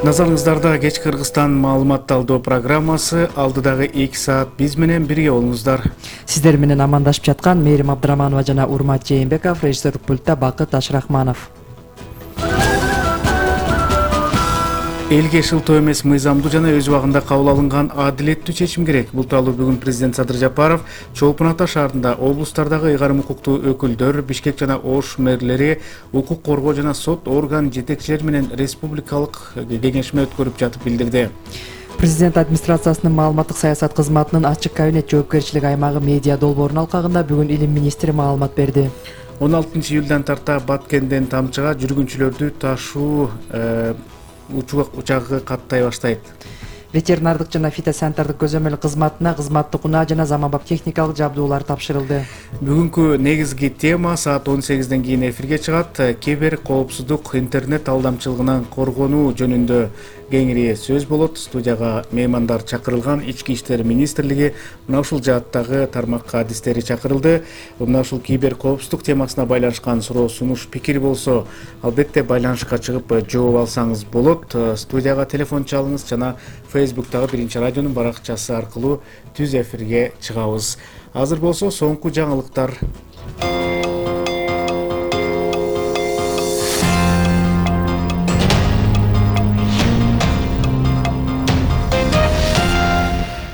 Назарыңыздарда кеч Кыргызстан маалымат талдоо программасы алдыдагы 2 саат биз менен бирге болуңуздар. Сиздер менен амандашып жаткан Мээрим Абдыраманова жана Урмат Жээнбеков, режиссерлук пультта Бакыт Ашрахманов. Элге шылтоо эмес, мыйзамдуу жана өз убагында кабыл алынган адилеттүү чечим керек. Бул тууралуу бүгүн президент Садыр Жапаров Чолпон Ата шаарында облустардагы ыйгарым укуктуу өкүлдөр, Бишкек жана Ош мэрлери, укук коргоо жана сот орган жетекчилери менен республикалык кеңешме өткөрүп жатып билдирди. Президент администрациясынын маалыматтык саясат кызматынын ачык кабинет жоопкерчилик аймагы медиа долбоорунун алкагында бүгүн илим министри маалымат берди. 16 июлдан тарта Баткенден Тамчыга жүргүнчүлөрдү ташуу учагы каттай баштайт. Ветеринардык жана фитосанитардык көзөмөл кызматына кызматтык унаа жана заманбап техникалык жабдуулар тапшырылды. Бүгүнкү негизги тема саат 18ден кийин эфирге чыгат. Кибер коопсуздук, интернет алдамчылыгынан коргонуу жөнүндө кеңири сөз болот. Студияга меймандар чакырылган. Ички иштер министрлиги мына ушул жааттагы тармакка адистери чакырылды. Мына ушул кибер коопсуздук темасына байланышкан суроо, сунуш, пикир болсо, албетте байланышка чыгып жооп алсаңыз болот. Студияга телефон чалыңыз жана Фейсбуктагы Биринчи радионун баракчасы аркылуу түз эфирге чыгабыз. Азыр болсо соңку жаңылыктар.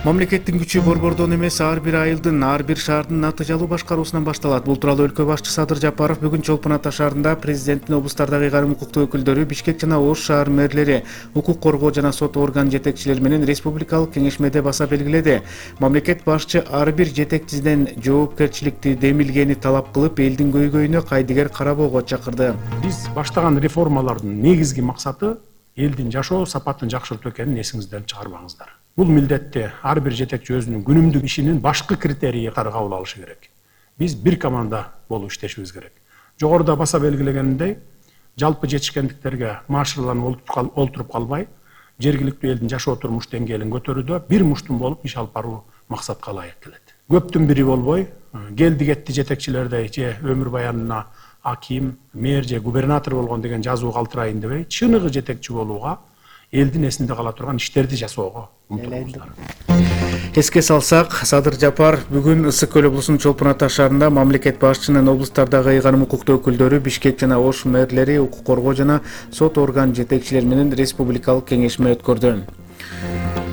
Мамлекеттин күчү борбордон эмес, ар бир айылдын, ар бир шаардын натыйжалуу башкаруусунан башталат. Бул тууралуу өлкө башчысы Садыр Жапаров бүгүн Чолпон Ата шаарында президенттин облустардагы ыйгарым укуктуу өкүлдөрү, Бишкек жана Ош шаар мэрлери, укук коргоо жана сот орган жетекчилери менен республикалык кеңешмеде баса белгиледи. Мамлекет башчы ар бир жетекчиден жоопкерчиликти демилгени талап кылып, элдин көйгөйүнө кайдыгер карабоого чакырды. Биз баштаган реформалардын негизги максаты элдин жашоо сапатын жакшыртуу экенин эсиңизден чыгарбаңыздар. Бул милдетти ар бир жетекчи өзүнүн күнүмдүк ишинин башкы критерийи катары кабыл алышы керек. Биз бир команда болуп иштешибиз керек. Жогоруда баса белгилегениндей, жалпы жетишкендиктерге маашыраланып олтуруп калбай, жергиликтүү элдин жашоо турмуш деңгээлин көтөрүүдө бир муштум болуп иш алып баруу максатка ылайык келет. Көптүн бири болбой, келди кетти жетекчилердей же өмүр баянына аким, мэр же губернатор болгон деген жазуу калтырайын дебей, чыныгы жетекчи болууга, элдин эсинде кала турган иштерди жасоого умтулуңуздар. Эске салсак, Садыр Жапаров бүгүн Ысык көл облусунун Чолпон Ата шаарында мамлекет башчынын облустардагы ыйгарым укуктуу өкүлдөрү, Бишкек жана Ош мэрлери, укук коргоо жана сот орган жетекчилери менен республикалык кеңешме өткөрдү.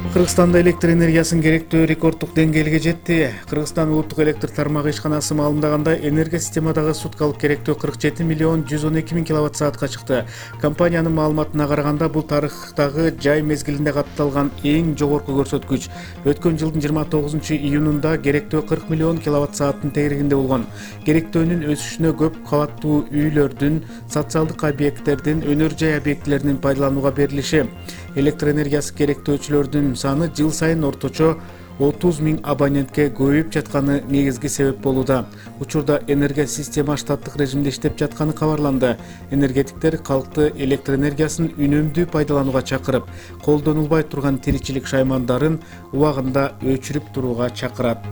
Кыргызстанда электр энергиясынын керектөө рекорддук деңгээлге жетти. Кыргызстан улуттук электр тармагы ишканасы маалымдаганда, энергия системадагы суткалык керектөө 47 миллион 112 миң киловатт саатка чыкты. Компаниянын маалыматына караганда, бул тарыхтагы жай мезгилинде катталган эң жогорку көрсөткүч. Өткөн жылдын 29-июнунда керектөө 40 миллион киловатт сааттын тегерегинде болгон. Керектөөнүн өсүшүнө көп кабаттуу үйлөрдүн, социалдык объекттердин, өнөр жай объектилеринин пайдаланууга берилиши, электр энергиясы керектөөчүлөрдүн саны жыл сайын орточо 30 миң абонентке көбөйүп жатканы негизги себеп болууда. Учурда энергия система штаттык режимде иштеп жатканы кабарланды. Энергетиктер калкты электр энергиясын үнөмдүү пайдаланууга чакырып, колдонулбай турган тиричилик шаймандарын убагында өчүрүп турууга чакырат.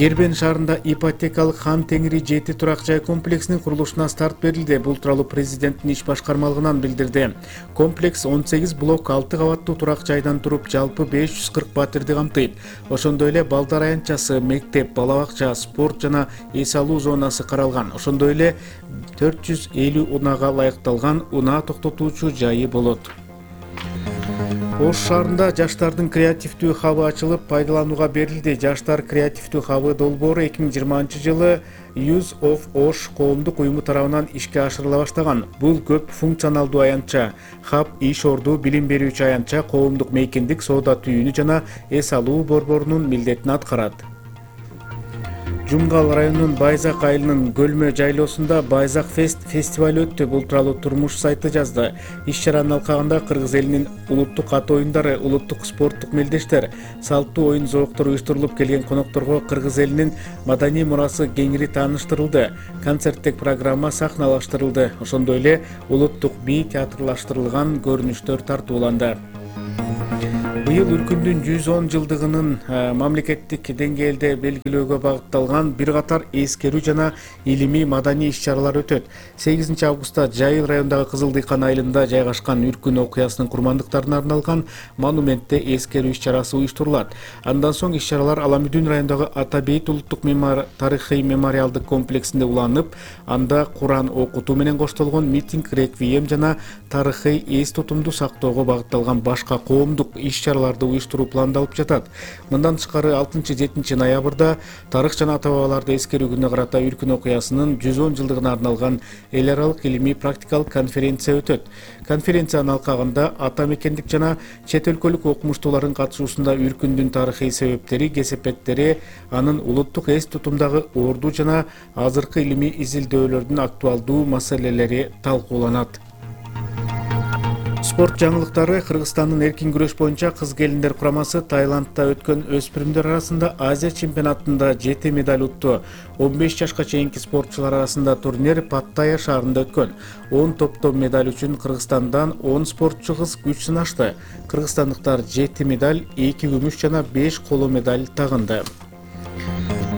Кербен шаарында ипотекалык Хан Теңири 7 турак жай комплексинин курулушуна старт берилди. Бул тууралуу президенттин иш башкармалыгынан билдирди. Комплекс 18 блок 6 кабаттуу турак жайдан туруп, жалпы 540 батирди камтыйт. Ошондой эле балдар аянтчасы, мектеп, бала бакча, спорт жана эс алуу зонасы каралган. Ошондой эле 450 унаага ылайыкталган унаа токтотуучу жайы болот. Ош шаарында жаштардын креативдүү хабы ачылып, пайдаланууга берилди. Жаштар креативдүү хабы долбоору 2020-жылы Youth of Osh коомдук уюму тарабынан ишке ашырыла баштаган. Бул көп функционалдуу аянтча. Хаб иш орду, билим берүүчү аянтча, коомдук мейкиндик, соода түйүнү жана эс алуу борборунун милдетин аткарат. Жумгал районунун Байзак айылынын Көлмө жайлоосунда Байзак фестиваль өттү. Бул тууралуу Турмуш сайты жазды. Иш-чаранын алкагында кыргыз элинин улуттук ат оюндары, улуттук спорттук мелдештер, салттуу оюн зооктор уюштурулуп, келген конокторго кыргыз элинин маданий мурасы кеңири тааныштырылды. Концерттик программа сахналаштырылды. Ошондой эле улуттук бий театрлаштырылган көрүнүштөр тартууланды. Быйыл Үркүндүн 110 жылдыгынын мамлекеттик деңгээлде белгилөөгө багытталган бир катар эскерүү жана илимий маданий иш-чаралар өтөт. 8 августта Жайыл районундагы Кызыл Дыйкан айылында жайгашкан Үркүн окуясынын курмандыктарына арналган монументте эскерүү иш-чарасы уюштурулат. Андан соң иш-чаралар Аламүдүн районундагы Атабейит улуттук тарыхый мемориалдык комплексинде уланып, анда Куран окутуу менен коштолгон митинг, реквием жана тарыхый эс тутумду сактоого багытталган башка коомдук иш-чараларды уюштуруу пландалып жатат. Мындан тышкары 6-7 ноябрда тарых жана ата-бабаларды эскерүү күнүнө карата Үркүн окуясынын 110 жылдыгына арналган эл аралык илимий практикалык конференция өтөт. Конференциянын алкагында ата мекендик жана чет өлкөлүк окумуштуулардын катышуусунда Үркүндүн тарыхый себептери, кесепеттери, анын улуттук эс тутумдагы орду жана азыркы илимий изилдөөлөрдүн актуалдуу маселелери талкууланат. Спорт жаңылыктары. Кыргызстандын эркин күрөш боюнча кыз келиндер курамасы Таиландда өткөн өспүрүмдөр арасында Азия чемпионатында 7 медаль утту. 15 жашка чейинки спортчулар арасында турнир Паттайя шаарында өткөн. 10 топтон медаль үчүн Кыргызстандан 10 спортчу кыз күч сынашты. Кыргызстандыктар 7 медаль, 2 күмүш жана 5 коло медаль тагынды.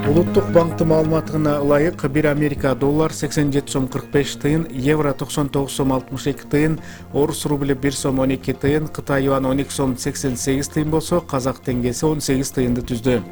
Улуттук банктын маалыматына ылайык 1 Америка доллар 87 сом 45 тыйын, евро 99 сом 62 тыйын, орус рубли 1 сом 12 тыйын, Кытай юан 12 сом 88 тыйын болсо, казак теңгеси 18 тыйынды түздү.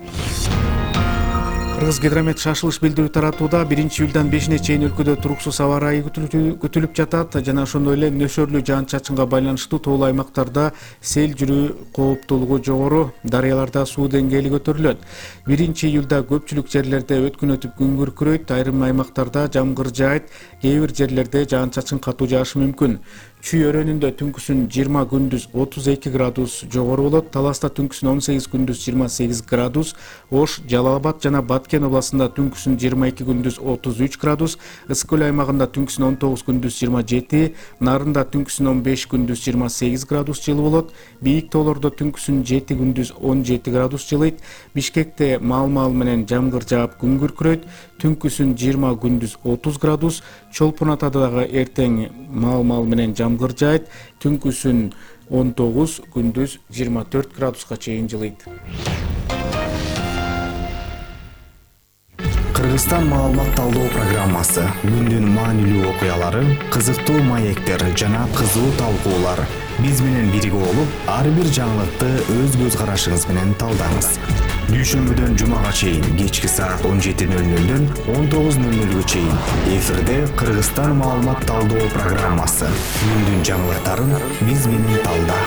Кыргызгидромет шашылыш билдирүү таратууда 1-июлдан 5-ине чейин өлкөдө туруксуз аба ырайы күтүлүп жатат жана ошондой эле нөшөрлүү жаан-чачынга байланыштуу тоолуу аймактарда сел жүрүү кооптуулугу жогору, дарыяларда суу деңгээли көтөрүлөт. 1-июлда көпчүлүк жерлерде өткүн өтүп күн күркүрөйт, айрым аймактарда жамгыр жаайт, кээ бир жерлерде жаан-чачын катуу жаашы мүмкүн. Чүй өрөөнүндө түнкүсүн 20 күндүз 32 градус жогору болот, Таласта түнкүсүн 18 күндүз 28 градус, Ош, Жалал Абад жана Баткен областында түнкүсүн 22 күндүз 33 градус, Ысык Көл аймагында түнкүсүн 19 күндүз 27, Нарында түнкүсүн 15 күндүз 28 градус жылы болот, бийик тоолордо түнкүсүн 7 күндүз 17 градус жылыйт, Бишкекте маал-маал менен жамгыр жаап күн күркүрөйт, түнкүсүн 20 күндүз 30 градус, Чолпон Атада дагы эртең маал-маал менен жамгыр жаайт, түнкүсүн 19 күндүз 24 градуска чейин жылыйт. Кыргызстан маалымат талдоо программасы, күндүн маанилүү окуялары, кызыктуу маектер жана кызуу талкуулар. Биз менен бирге болуп, ар бир жаңылыкты өз көз карашыңыз менен талдаңыз. Дүйшөмбүдөн жумага чейин кечки саат 17:00-дөн 19:00-гө чейин эфирде Кыргызстан маалымат талдоо программасы. Күндүн жаңылыктарын биз менен талда.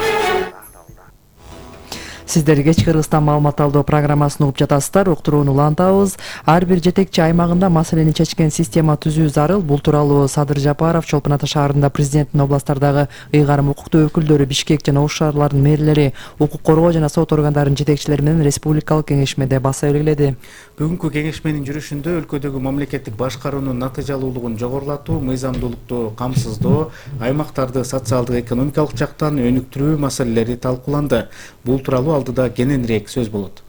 Сиздер кечки Кыргызстан маалымат талдоо программасын угуп жатасыздар. Уктурууну улантабыз. Ар бир жетекчи аймагында маселени чечкен система түзүү зарыл. Бул тууралуу Садыр Жапаров Чолпон Ата шаарында президенттин областтардагы ыйгарым укуктуу өкүлдөрү, Бишкек жана Ош шаарларынын мэрлери, укук коргоо жана сот органдарынын жетекчилери менен республикалык кеңешмеде баса белгиледи. Бүгүнкү кеңешменин жүрүшүндө өлкөдөгү мамлекеттик башкаруунун натыйжалуулугун жогорулатуу, мыйзамдуулукту камсыздоо, аймактарды социалдык экономикалык жактан өнүктүрүү маселелери талкууланды. Бул тууралуу алдыда кененирээк сөз болот.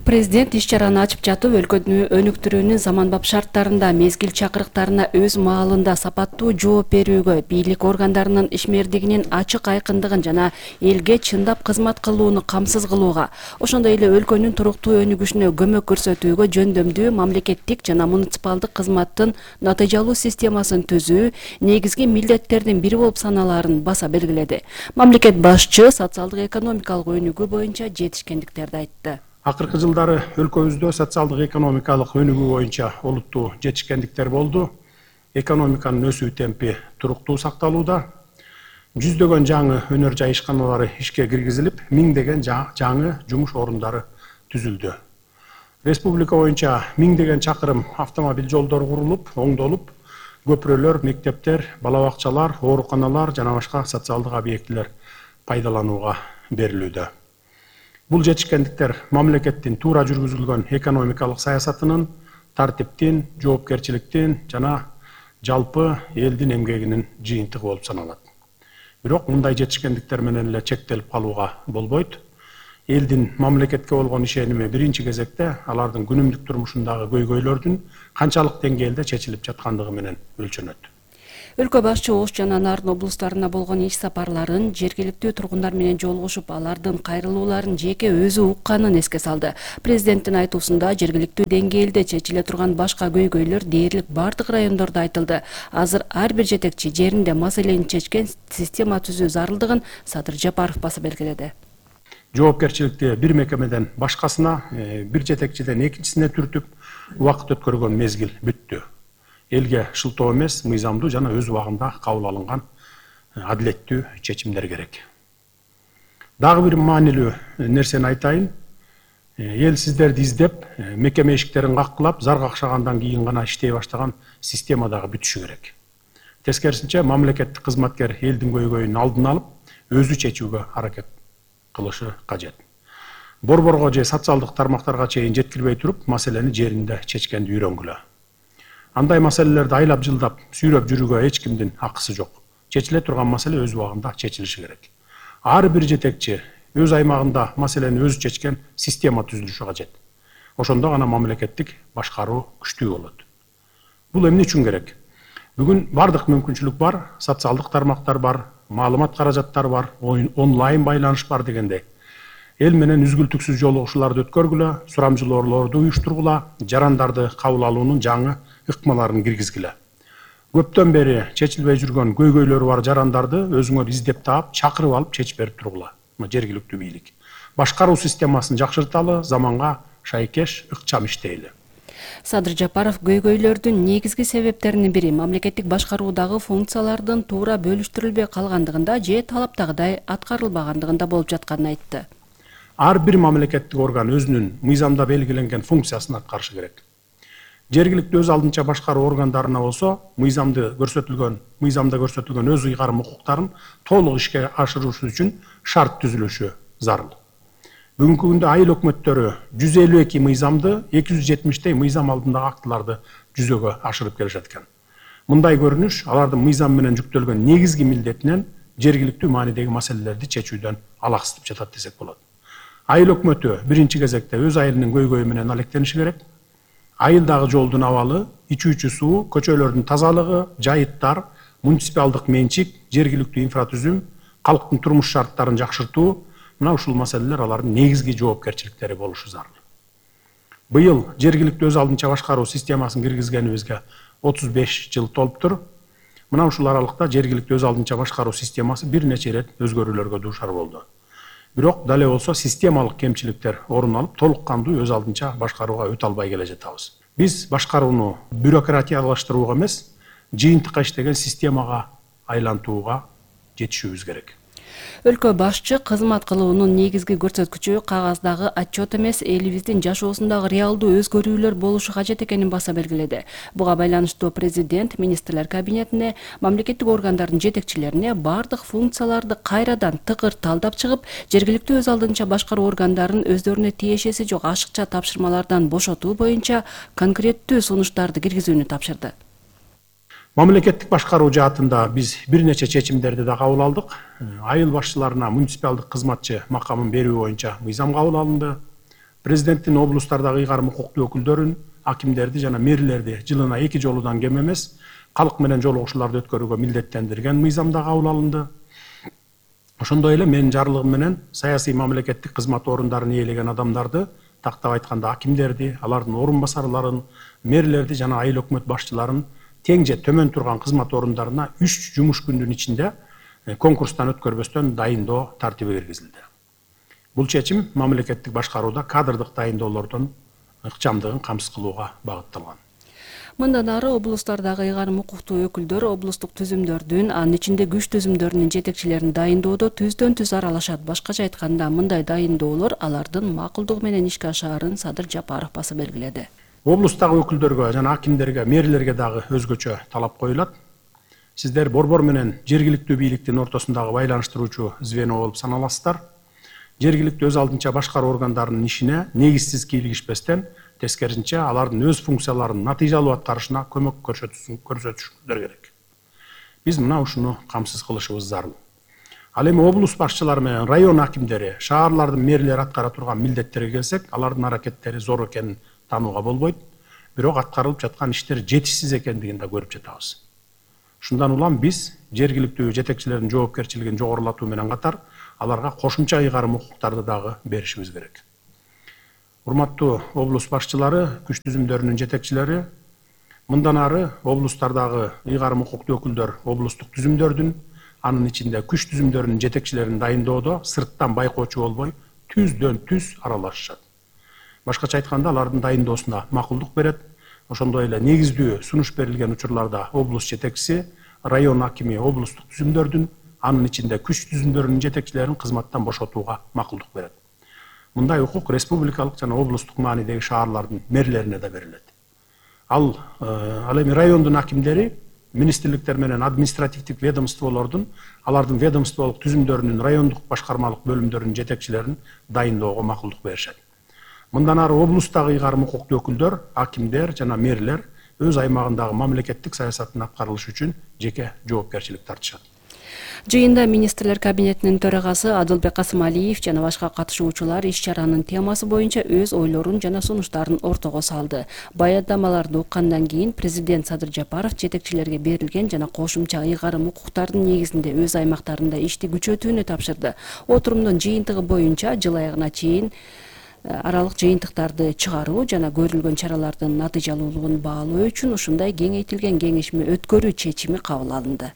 Президент иш-чараны ачып жатып, өлкөнү өнүктүрүүнүн заманбап шарттарында мезгил чакырыктарына өз маалында сапаттуу жооп берүүгө, бийлик органдарынын ишмердигинин ачык айкындыгын жана элге чындап кызмат кылууну камсыз кылууга, ошондой эле өлкөнүн туруктуу өнүгүшүнө көмөк көрсөтүүгө жөндөмдүү мамлекеттик жана муниципалдык кызматтын натыйжалуу системасын түзүү негизги милдеттердин бири болуп саналаарын баса белгиледи. Мамлекет башчы социалдык экономикалык өнүгүү боюнча жетишкендиктерди айтты. Акыркы жылдары өлкөбүздө социалдык экономикалык өнүгүү боюнча олуттуу жетишкендиктер болду. Экономиканын өсүү темпи туруктуу сакталууда. Жүздөгөн жаңы өнөр жай ишканалары ишке киргизилип, миңдеген жаңы жумуш орундары түзүлдү. Республика боюнча миңдеген чакырым автомобиль жолдору курулуп, оңдолуп, көпүрөлөр, мектептер, бала бакчалар, ооруканалар жана башка социалдык объектилер пайдаланууга берилүүдө. Бул жетишкендиктер мамлекеттин туура жүргүзүлгөн экономикалык саясатынын, тартиптин, жоопкерчиликтин жана жалпы элдин эмгегинин жыйынтыгы болуп саналат. Бирок мындай жетишкендиктер менен эле чектелип калууга болбойт. Элдин мамлекетке болгон ишеними биринчи кезекте алардын күнүмдүк турмушундагы көйгөйлөрдүн канчалык деңгээлде чечилип жаткандыгы менен өлчөнөт. Өлкө башчы Ош жана Нарын облустарына болгон иш сапарларын, жергиликтүү тургундар менен жолугушуп, алардын кайрылууларын жеке өзү укканын эске салды. Президенттин айтуусунда жергиликтүү деңгээлде чечиле турган башка көйгөйлөр дээрлик бардык райондордо айтылды. Азыр ар бир жетекчи жеринде маселени чечкен система түзүү зарылдыгын Садыр Жапаров басып белгиледи. Жоопкерчиликти бир мекемеден башкасына, бир жетекчиден экинчисине түртүп, убакыт өткөргөн мезгил бүттү. Элге шылтоо эмес, мыйзамдуу жана өз убагында кабыл алынган адилеттүү чечимдер керек. Дагы бир маанилүү нерсени айтайын. Эл сиздерди издеп, мекеме эшиктерин каккылап, зар какшагандан кийин гана иштей баштаган система дагы бүтүшү керек. Тескерисинче, мамлекеттик кызматкер элдин көйгөйүн алдын алып, өзү чечүүгө аракет кылышы кажет. Борборго же социалдык тармактарга чейин жеткирбей туруп, маселени жеринде чечкенди үйрөнгүлө. Андай маселелерди айлап жылдап сүйрөп жүрүүгө эч кимдин акысы жок. Чечиле турган маселе өз убагында чечилиши керек. Ар бир жетекчи өз аймагында маселени өзү чечкен система түзүлүшү кажет. Ошондо гана мамлекеттик башкаруу күчтүү болот. Бул эмне үчүн керек? Бүгүн бардык мүмкүнчүлүк бар, социалдык тармактар бар, маалымат каражаттары бар, онлайн байланыш бар дегендей. Эл менен үзгүлтүксүз жолугушууларды өткөргүлө, сурамжылоолорду уюштургула, жарандарды кабыл алуунун жаңы ыкмаларын киргизгиле. Көптөн бери чечилбей жүргөн көйгөйлөрү бар жарандарды өзүңөр издеп таап, чакырып алып чечип берип тургула. Жергиликтүү бийлик. Башкаруу системасын жакшырталы, заманга шайкеш, ыкчам иштейли. Садыр Жапаров көйгөйлөрдүн негизги себептеринин бири мамлекеттик башкаруудагы функциялардын туура бөлүштүрүлбөй калгандыгында же талаптагыдай аткарылбагандыгында болуп жатканын айтты. Ар бир мамлекеттик орган өзүнүн мыйзамда белгиленген функциясын аткарышы керек. Жергиликтүү өз алдынча башкаруу органдарына болсо, мыйзамда көрсөтүлгөн өз ыйгарым укуктарын толук ишке ашыруусу үчүн шарт түзүлүшү зарыл. Бүгүнкү күндө айыл өкмөттөрү 152 мыйзамды, 270 мыйзам алдындагы актыларды жүзөгө ашырып келишет экен. Мындай көрүнүш алардын мыйзам менен жүктөлгөн негизги милдетинен жергиликтүү маанидеги маселелерди чечүүдөн алаксытып жатат десек болот. Айыл өкмөтү биринчи кезекте өз айылынын көйгөйү менен алектениши керек. Айылдагы жолдун абалы, ичүүчү суу, көчөлөрдүн тазалыгы, жайыттар, муниципалдык менчик, жергиликтүү инфратүзүм, калктын турмуш шарттарын жакшыртуу, мына ушул маселелер алардын негизги жоопкерчиликтери болушу зарыл. Быйыл жергиликтүү өз алдынча башкаруу системасын киргизгенибизге 35 жыл толуптур. Мына ушул аралыкта жергиликтүү өз алдынча башкаруу системасы бир нече ирет өзгөрүүлөргө дуушар болду. Бирок дале болсо системалык кемчиликтер орун алып, толук кандуу өз алдынча башкарууга өтө албай келе жатабыз. Биз башкарууну бюрократиялаштырууга эмес, жыйынтыкка иштеген системага айлантууга жетишүүбүз керек. Өлкө башчы кызмат кылуунун негизги көрсөткүчү кагаздагы отчет эмес, элибиздин жашоосундагы реалдуу өзгөрүүлөр болушу кажет экенин баса белгиледи. Буга байланыштуу президент министрлер кабинетине, мамлекеттик органдардын жетекчилерине бардык функцияларды кайрадан тыгыр талдап чыгып, жергиликтүү өз алдынча башкаруу органдарын өздөрүнө тиешеси жок ашыкча тапшырмалардан бошотуу боюнча конкреттүү сунуштарды киргизүүнү тапшырды. Мамлекеттик башкаруу жаатында биз бир нече чечимдерди да кабыл алдык. Айыл башчыларына муниципалдык кызматчы макамын берүү боюнча мыйзам кабыл алынды. Президенттин облустардагы ыйгарым укуктуу өкүлдөрүн, акимдерди жана мэрлерди жылына 2 жолудан кем эмес калк менен жолугушууларды өткөрүүгө милдеттендирген мыйзам да кабыл алынды. Ошондой эле менин жарлыгым менен саясий мамлекеттик кызмат орундарын ээлеген адамдарды, тактап айтканда акимдерди, алардын орун басарларын, мэрлерди жана айыл өкмөт башчыларын тең же төмөн турган кызмат орундарына 3 жумуш күндүн ичинде конкурстан өткөрбөстөн дайындоо тартиби киргизилди. Бул чечим мамлекеттик башкарууда кадрдык дайындоолордун ыкчамдыгын камсыз кылууга багытталган. Мындан ары облустардагы ыйгарым укуктуу өкүлдөр облустук түзүмдөрдүн, анын ичинде күч түзүмдөрүнүн жетекчилерин дайындоодо түздөн түз аралашат. Башкача айтканда, мындай дайындоолор алардын макулдугу менен ишке ашаарын Садыр Жапаров басып белгиледи. Облустагы өкүлдөргө жана акимдерге, мэрлерге дагы өзгөчө талап коюлат. Сиздер борбор менен жергиликтүү бийликтин ортосундагы байланыштыруучу звено болуп саналасыздар. Жергиликтүү өз алдынча башкаруу органдарынын ишине негизсиз кийлигишпестен, тескерисинче алардын өз функцияларын натыйжалуу аткарышына көмөк көрсөтүшүңүздөр керек. Биз мына ушуну камсыз кылышыбыз зарыл. Ал эми облус башчылары менен район акимдери, шаарлардын мэрлери аткара турган милдеттерге келсек, алардын аракеттери зор экенин таанууга болбойт, бирок аткарылып жаткан иштер жетишсиз экендигин да көрүп жатабыз. Ушундан улам биз жергиликтүү жетекчилердин жоопкерчилигин жогорулатуу менен катар аларга кошумча ыйгарым укуктарды дагы беришибиз керек. Урматтуу облус башчылары, күч түзүмдөрүнүн жетекчилери, мындан ары облустардагы ыйгарым укуктуу өкүлдөр облустук түзүмдөрдүн, анын ичинде күч түзүмдөрүнүн жетекчилерин дайындоодо сырттан байкоочу болбой, түздөн түз аралашышат. Башкача айтканда, алардын дайындоосуна макулдук берет. Ошондой эле негиздүү сунуш берилген учурларда облус жетекчиси, район акими облустук түзүмдөрдүн, анын ичинде күч түзүмдөрүнүн жетекчилерин кызматтан бошотууга макулдук берет. Мындай укук республикалык жана облустук маанидеги шаарлардын мэрлерине да берилет. Ал эми райондун акимдери министрликтер менен административдик ведомстволордун, алардын ведомстволук түзүмдөрүнүн райондук башкармалык бөлүмдөрүнүн жетекчилерин дайындоого макулдук беришет. Мындан ары облустагы ыйгарым укуктуу өкүлдөр, акимдер жана мэрлер өз аймагындагы мамлекеттик саясаттын аткарылышы үчүн жеке жоопкерчилик тартышат. Жыйында министрлер кабинетинин төрагасы Адылбек Касымалиев жана башка катышуучулар иш-чаранын темасы боюнча өз ойлорун жана сунуштарын ортого салды. Баяндамаларды уккандан кийин президент Садыр Жапаров жетекчилерге берилген жана кошумча ыйгарым укуктардын негизинде өз аймактарында ишти күчөтүүнү тапшырды. Отурумдун жыйынтыгы боюнча жыл айыгына чейин аралык жыйынтыктарды чыгаруу жана көрүлгөн чаралардын натыйжалуулугун баалоо үчүн ушундай кеңейтилген кеңешме өткөрүү чечими кабыл алынды.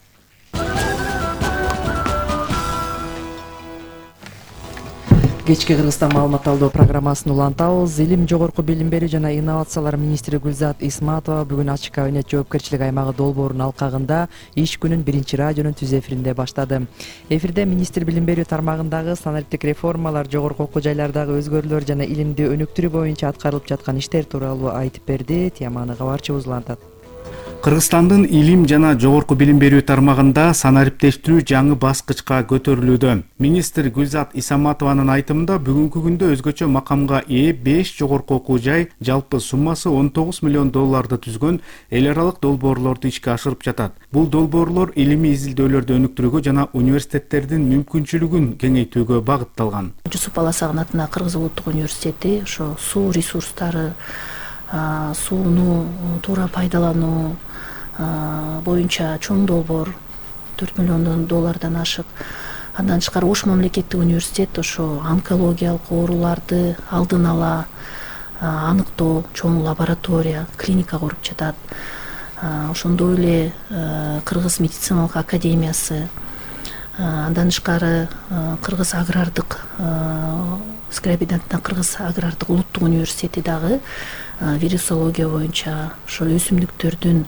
Кечки Кыргызстан маалымат алуу программасын улантабыз. Илим, жогорку билим берүү жана инновациялар министри Гүлзат Исматова бүгүн ачык кабинет жоопкерчилик аймагы долбоорунун алкагында иш күнүн биринчи радионун түз эфиринде баштады. Эфирде министр билим берүү тармагындагы санариптик реформалар, жогорку окуу жайлардагы өзгөрүүлөр жана илимди өнүктүрүү боюнча аткарылып жаткан иштер тууралуу айтып берди. Теманы кабарчыбыз улантат. Кыргызстандын илим жана жогорку билим берүү тармагында санариптештирүү жаңы баскычка көтөрүлүүдө. Министр Гүлзат Исаматованын айтымында бүгүнкү күндө өзгөчө макамга ээ 5 жогорку окуу жай жалпы суммасы $19 миллион түзгөн эл аралык долбоорлорду ишке ашырып жатат. Бул долбоорлор илимий изилдөөлөрдү өнүктүрүүгө жана университеттердин мүмкүнчүлүгүн кеңейтүүгө багытталган. Жусуп Баласагын атына Кыргыз улуттук университети ошо суу ресурстары, сууну туура пайдалануу боюнча чоң долбоор $4 миллион ашык. Андан тышкары Ош мамлекеттик университет ошо онкологиялык ооруларды алдын ала аныктоо чоң лаборатория, клиника куруп жатат. Ошондой эле Кыргыз медициналык академиясы, андан тышкары Кыргыз агрардык Скрябинатна Кыргыз агрардык улуттук университети дагы вирусология боюнча, ошо өсүмдүктөрдүн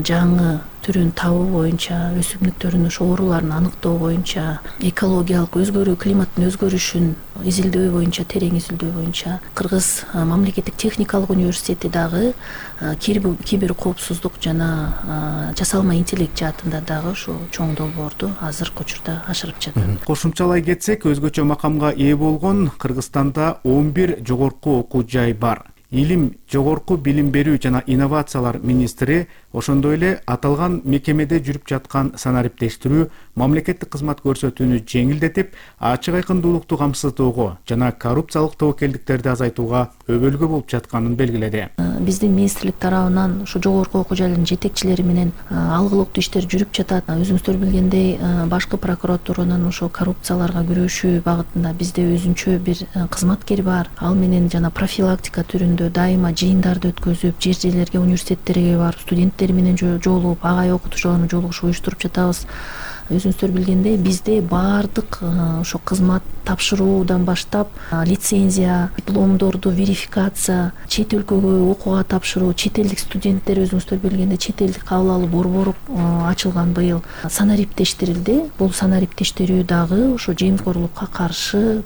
жаңы түрүн табуу боюнча, өсүмдүктөрдүн ошо ооруларын аныктоо боюнча, экологиялык өзгөрүү, климаттын өзгөрүшүн изилдөө боюнча, терең изилдөө боюнча, Кыргыз мамлекеттик техникалык университети дагы кибер коопсуздук жана жасалма интеллект жаатында дагы ошо чоң долбоорду азыркы учурда ашырып жатат. Кошумчалай кетсек, өзгөчө макамга ээ болгон Кыргызстанда 11 жогорку окуу жай бар. Илим, жогорку билим берүү жана инновациялар министри ошондой эле аталган мекемеде жүрүп жаткан санариптештирүү, мамлекеттик кызмат көрсөтүүнү жеңилдетип, ачык айкындуулукту камсыздоого жана коррупциялык тобокелдиктерди азайтууга өбөлгө болуп жатканын белгиледи. Биздин министрлик тарабынан ошо жогорку окуу жайлардын жетекчилери менен алгылыктуу иштер жүрүп жатат. Өзүңүздөр билгендей, башкы прокуратуранын ошо коррупцияларга күрөшүү багытында бизде өзүнчө бир кызматкер бар. Ал менен жана профилактика түрүндө дайыма жыйындарды өткөзүп, жер-жерлерге, университеттерге барып, студенттер менен жолугуп, агай окутуучулар менен жолугушуп уюштуруп жатабыз. Өзүңүздөр билгендей, бизде баардык ошо кызмат тапшыруудан баштап лицензия, дипломдорду верификация, чет өлкөгө окууга тапшыруу, чет элдик студенттер өзүңүздөр билгендей чет элдик кабыл алуу борбору ачылган быйыл. Санариптештирилди. Бул санариптештирүү дагы ошо жемкорлукка каршы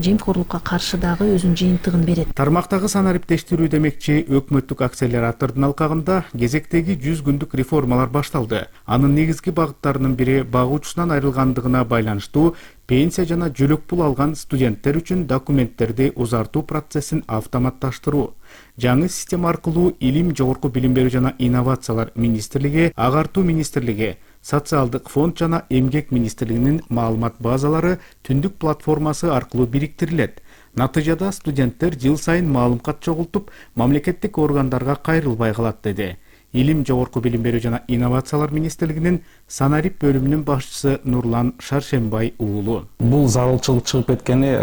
жемкорлукка каршы дагы өзүнүн жыйынтыгын берет. Тармактагы санариптештирүү демекчи өкмөттүк акселератордун алкагында кезектеги 100 күндүк реформалар башталды. Анын негизги багыттарынын бири багуучусунан айрылгандыгына байланыштуу пенсия жана жөлөк пул алган студенттер үчүн документтерди узартуу процессин автоматташтыруу. Жаңы система аркылуу Илим, жогорку билим берүү жана инновациялар министрлиги, агартуу министрлиги, социалдык фонд жана эмгек министрлигинин маалымат базалары түндүк платформасы аркылуу бириктирилет. Натыйжада студенттер жыл сайын маалым кат чогултуп, мамлекеттик органдарга кайрылбай калат, деди. Илим, жогорку билим берүү жана инновациялар министрлигинин Санарип бөлүмүнүн башчысы Нурлан Шаршембай уулу. Бул зарылчылык чыгып кеткени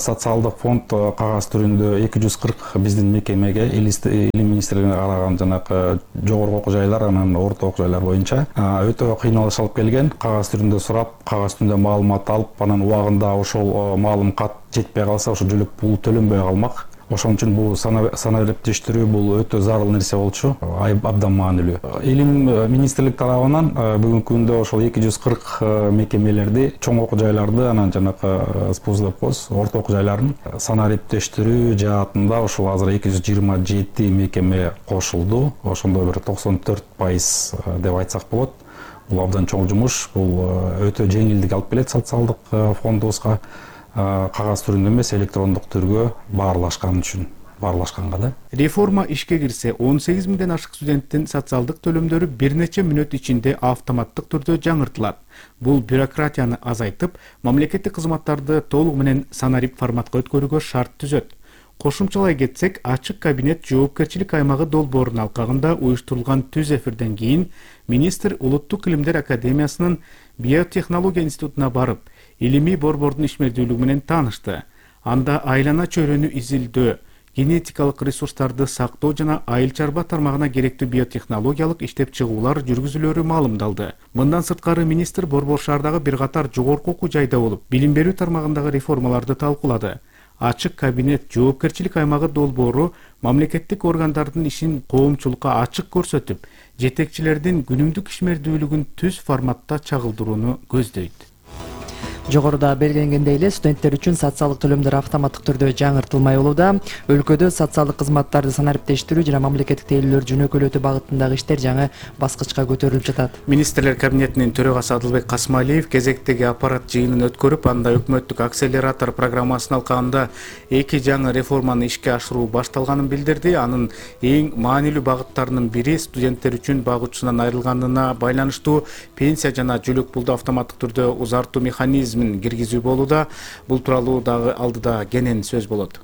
социалдык фонд кагаз түрүндө 240 биздин мекемеге илим министрлигине караган жанагы жогорку окуу жайлар анан орто окуу жайлар боюнча өтө кыйналыш алып келген. Кагаз түрүндө сурап, кагаз түрүндө маалымат алып, анан убагында ошол маалымат жетпей калса, ошо жөлөк пул төлөнбөй калмак. Ошон үчүн бул санариптештирүү бул өтө зарыл нерсе болчу, абдан маанилүү. Илим министрлик тарабынан бүгүнкү күндө ошол 240 мекемелерди, чоң окуу жайларды, анан жанагы спуздапкоз, орто окуу жайларын санариптештирүү жаатында ошол азыр 227 мекеме кошулду. Ошондо бир 94% деп айтсак болот. Бул абдан чоң жумуш, бул өтө жеңилдик алып келет социалдык фондубузга. Кагаз түрүндө эмес, электрондук түргө баарлашканга да. Реформа ишке кирсе, 18 миңден ашык студенттин социалдык төлөмдөрү бир нече мүнөт ичинде автоматтык түрдө жаңыртылат. Бул бюрократияны азайтып, мамлекеттик кызматтарды толугу менен санарип форматка өткөрүүгө шарт түзөт. Кошумчалай кетсек, ачык кабинет жоопкерчилик аймагы долбоорунун алкагында уюштурулган түз эфирден кийин министр Улуттук илимдер академиясынын биотехнология институтуна барып, илимий борбордун ишмердүүлүгү менен таанышты. Анда айлана чөйрөнү изилдөө, генетикалык ресурстарды сактоо жана айыл чарба тармагына керектүү биотехнологиялык иштеп чыгуулар жүргүзүлөрү маалымдалды. Мындан сырткары министр Борбор шаардагы бир катар жогорку окуу жайда болуп, билим берүү тармагындагы реформаларды талкуулады. Ачык кабинет жоопкерчилик аймагы долбоору мамлекеттик органдардын ишин коомчулукка ачык көрсөтүп, жетекчилердин күнүмдүк ишмердүүлүгүн түз форматта чагылдырууну көздөйт. Жогоруда белгиленгендей эле студенттер үчүн социалдык төлөмдөр автоматтык түрдө жаңыртылмай болууда. Өлкөдө социалдык кызматтарды санариптештирүү жана мамлекеттик тейлөөлөрдү жөнөкөйлөтүү багытындагы иштер жаңы баскычка көтөрүлүп жатат. Министрлер кабинетинин төрагасы Адылбек Касмалиев кезектеги аппарат жыйынын өткөрүп, анда өкмөттүк акселератор программасынын алкагында 2 жаңы реформаны ишке ашыруу башталганын билдирди. Анын эң маанилүү багыттарынын бири студенттер үчүн багуучусунан айрылганына байланыштуу пенсия жана жөлөк пулду автоматтык түрдө узартуу механизмин киргизүү болууда. Бул тууралуу дагы алдыда кенен сөз болот.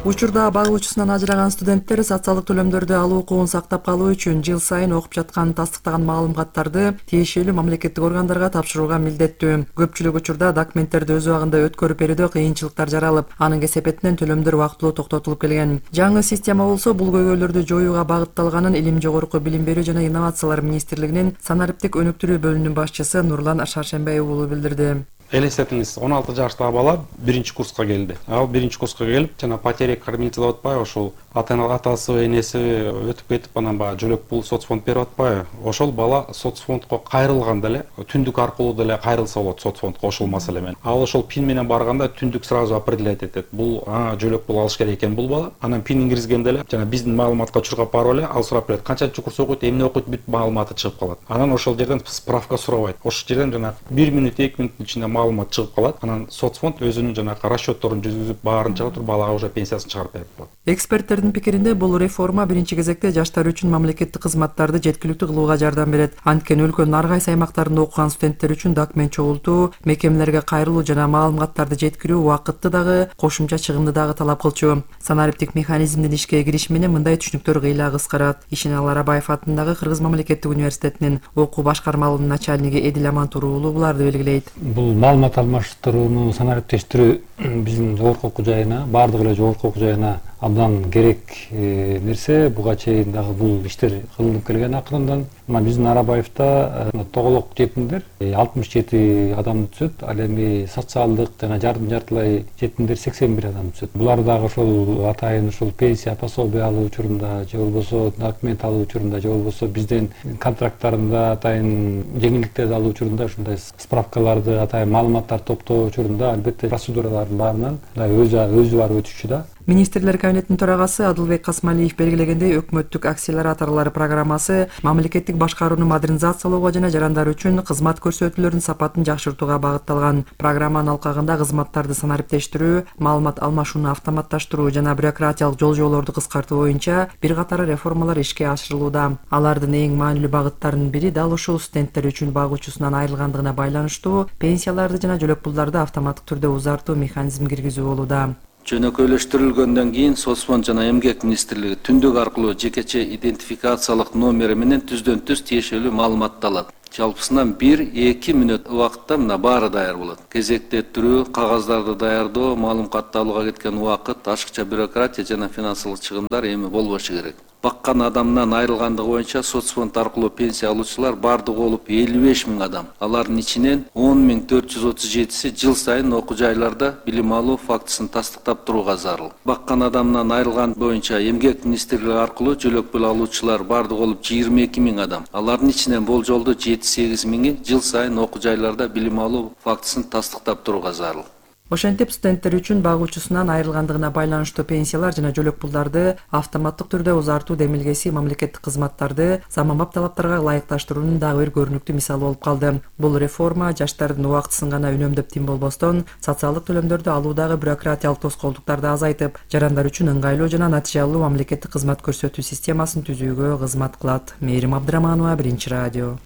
Учурда багуучусунан ажыраган студенттер социалдык төлөмдөрдү алуу укугун сактап калуу үчүн жыл сайын окуп жатканын тастыктаган маалыматтарды тиешелүү мамлекеттик органдарга тапшырууга милдеттүү. Көпчүлүк учурда документтерди өз убагында өткөрүп берүүдө кыйынчылыктар жаралып, анын кесепетинен төлөмдөр убактылуу токтотулуп келген. Жаңы система болсо бул көйгөйлөрдү жоюуга багытталганын Илим, жогорку билим берүү жана инновациялар министрлигинин санариптик өнүктүрүү бөлүмүнүн башчысы Нурлан Шаршембай уулу билдирди. Элестетиңиз, 16 жаштагы бала 1-курска келди. Ал 1-курска келип, жана потеря кормильца деп атпайбы, ошол атасы, энеси өтүп кетип, анан баягы жөлөк пул соцфонд берип атпайбы? Ошол бала соцфондко кайрылганда эле, түндүк аркылуу деле кайрылса болот соцфондко ошол маселе менен. Ал ошол пин менен барганда түндүк сразу определять этет. Бул жөлөк пул алыш керек экен бул бала. Анан пинин киргизгенде эле, жана биздин маалыматка чуркап барып эле, ал сурап берет. Канчанчы курс окуйт, эмне окуйт, бүт маалыматы чыгып калат. Анан ошол жерден справка сурабайт. Ошол жерден жана 1 мүнөт, 2 мүнөттүн ичинде маалымат чыгып калат. Анан соцфонд өзүнүн жанагы расчетторун жүзүп, баарын чыгарып туруп, балага уже пенсиясын чыгарып берип коет. Эксперттердин пикиринде бул реформа биринчи кезекте жаштар үчүн мамлекеттик кызматтарды жеткиликтүү кылууга жардам берет. Анткени өлкөнүн ар кайсы аймактарында окуган студенттер үчүн документ чогултуу, мекемелерге кайрылуу жана маалыматтарды жеткирүү убакытты дагы, кошумча чыгымды дагы талап кылчу. Санариптик механизмдин ишке кириши менен мындай түшүнүктөр кыйла кыскарат. Ишенал Арабаев атындагы Кыргыз мамлекеттик университетинин окуу башкармалыгынын начальниги Эдил Амантур уулу буларды белгилейт. Бул маалымат алмаштырууну санариптештирүү биздин жогорку окуу жайына, баардык эле жогорку окуу жайына абдан керек нерсе. Буга чейин дагы бул иштер кылынып келген акырындан. Мына биздин Арабаевда тоголок жетимдер 67 адам түзөт. Ал эми социалдык жана жартылай жетимдер 81 адам түзөт. Булар дагы ошол атайын ошол пенсия, пособие алуу учурунда, же болбосо документ алуу учурунда, же болбосо биздин контракттарында атайын жеңилдиктерди алуу учурунда ушундай справкаларды, атайын маалыматтарды топтоо учурунда албетте процедуралардын баарынан өзү барып өтүшчү да. Министрлер кабинетинин төрагасы Адылбек Касмалиев белгилегендей, өкмөттүк акселераторлор программасы мамлекеттик башкарууну модернизациялоого жана жарандар үчүн кызмат көрсөтүүлөрдүн сапатын жакшыртууга багытталган. Программанын алкагында кызматтарды санариптештирүү, маалымат алмашууну автоматташтыруу жана бюрократиялык жол-жоолорду кыскартуу боюнча бир катар реформалар ишке ашырылууда. Алардын эң маанилүү багыттарынын бири дал ушул студенттер үчүн багуучусунан айрылгандыгына байланыштуу пенсияларды жана жөлөк пулдарды автоматтык түрдө узартуу механизмин киргизүү болууда. Жөнөкөйлөштүрүлгөндөн кийин соцфонд жана эмгек министрлиги түндүк аркылуу жекече идентификациялык номери менен түздөн түз тиешелүү маалыматты алат. Жалпысынан 1-2 мүнөт убакытта мына баары даяр болот. Кезекте туруу, кагаздарды даярдоо, маалыматты алууга кеткен убакыт, ашыкча бюрократия жана финансылык чыгымдар эми болбошу керек. Баккан адамдан айрылгандыгы боюнча соцфонд аркылуу пенсия алуучулар бардыгы болуп 55 000 адам. Алардын ичинен 10 437 жыл сайын окуу жайларда билим алуу фактысын тастыктап турууга зарыл. Баккан адамдан айрылган боюнча эмгек министрлиги аркылуу жөлөк пул алуучулар бардыгы болуп 22 000 адам. Алардын ичинен болжолдуу 7-8 000 жыл сайын окуу жайларда билим алуу фактысын тастыктап турууга зарыл. Ошентип студенттер үчүн багуучусунан айрылгандыгына байланыштуу пенсиялар жана жөлөк пулдарды автоматтык түрдө узартуу демилгеси мамлекеттик кызматтарды заманбап талаптарга ылайыкташтыруунун дагы бир көрүнүктүү мисалы болуп калды. Бул реформа жаштардын убактысын гана үнөмдөп тим болбостон, социалдык төлөмдөрдү алуудагы бюрократиялык тоскоолдуктарды азайтып, жарандар үчүн ыңгайлуу жана натыйжалуу мамлекеттик кызмат көрсөтүү системасын түзүүгө кызмат кылат. Мээрим Абдыраманова, Биринчи радио.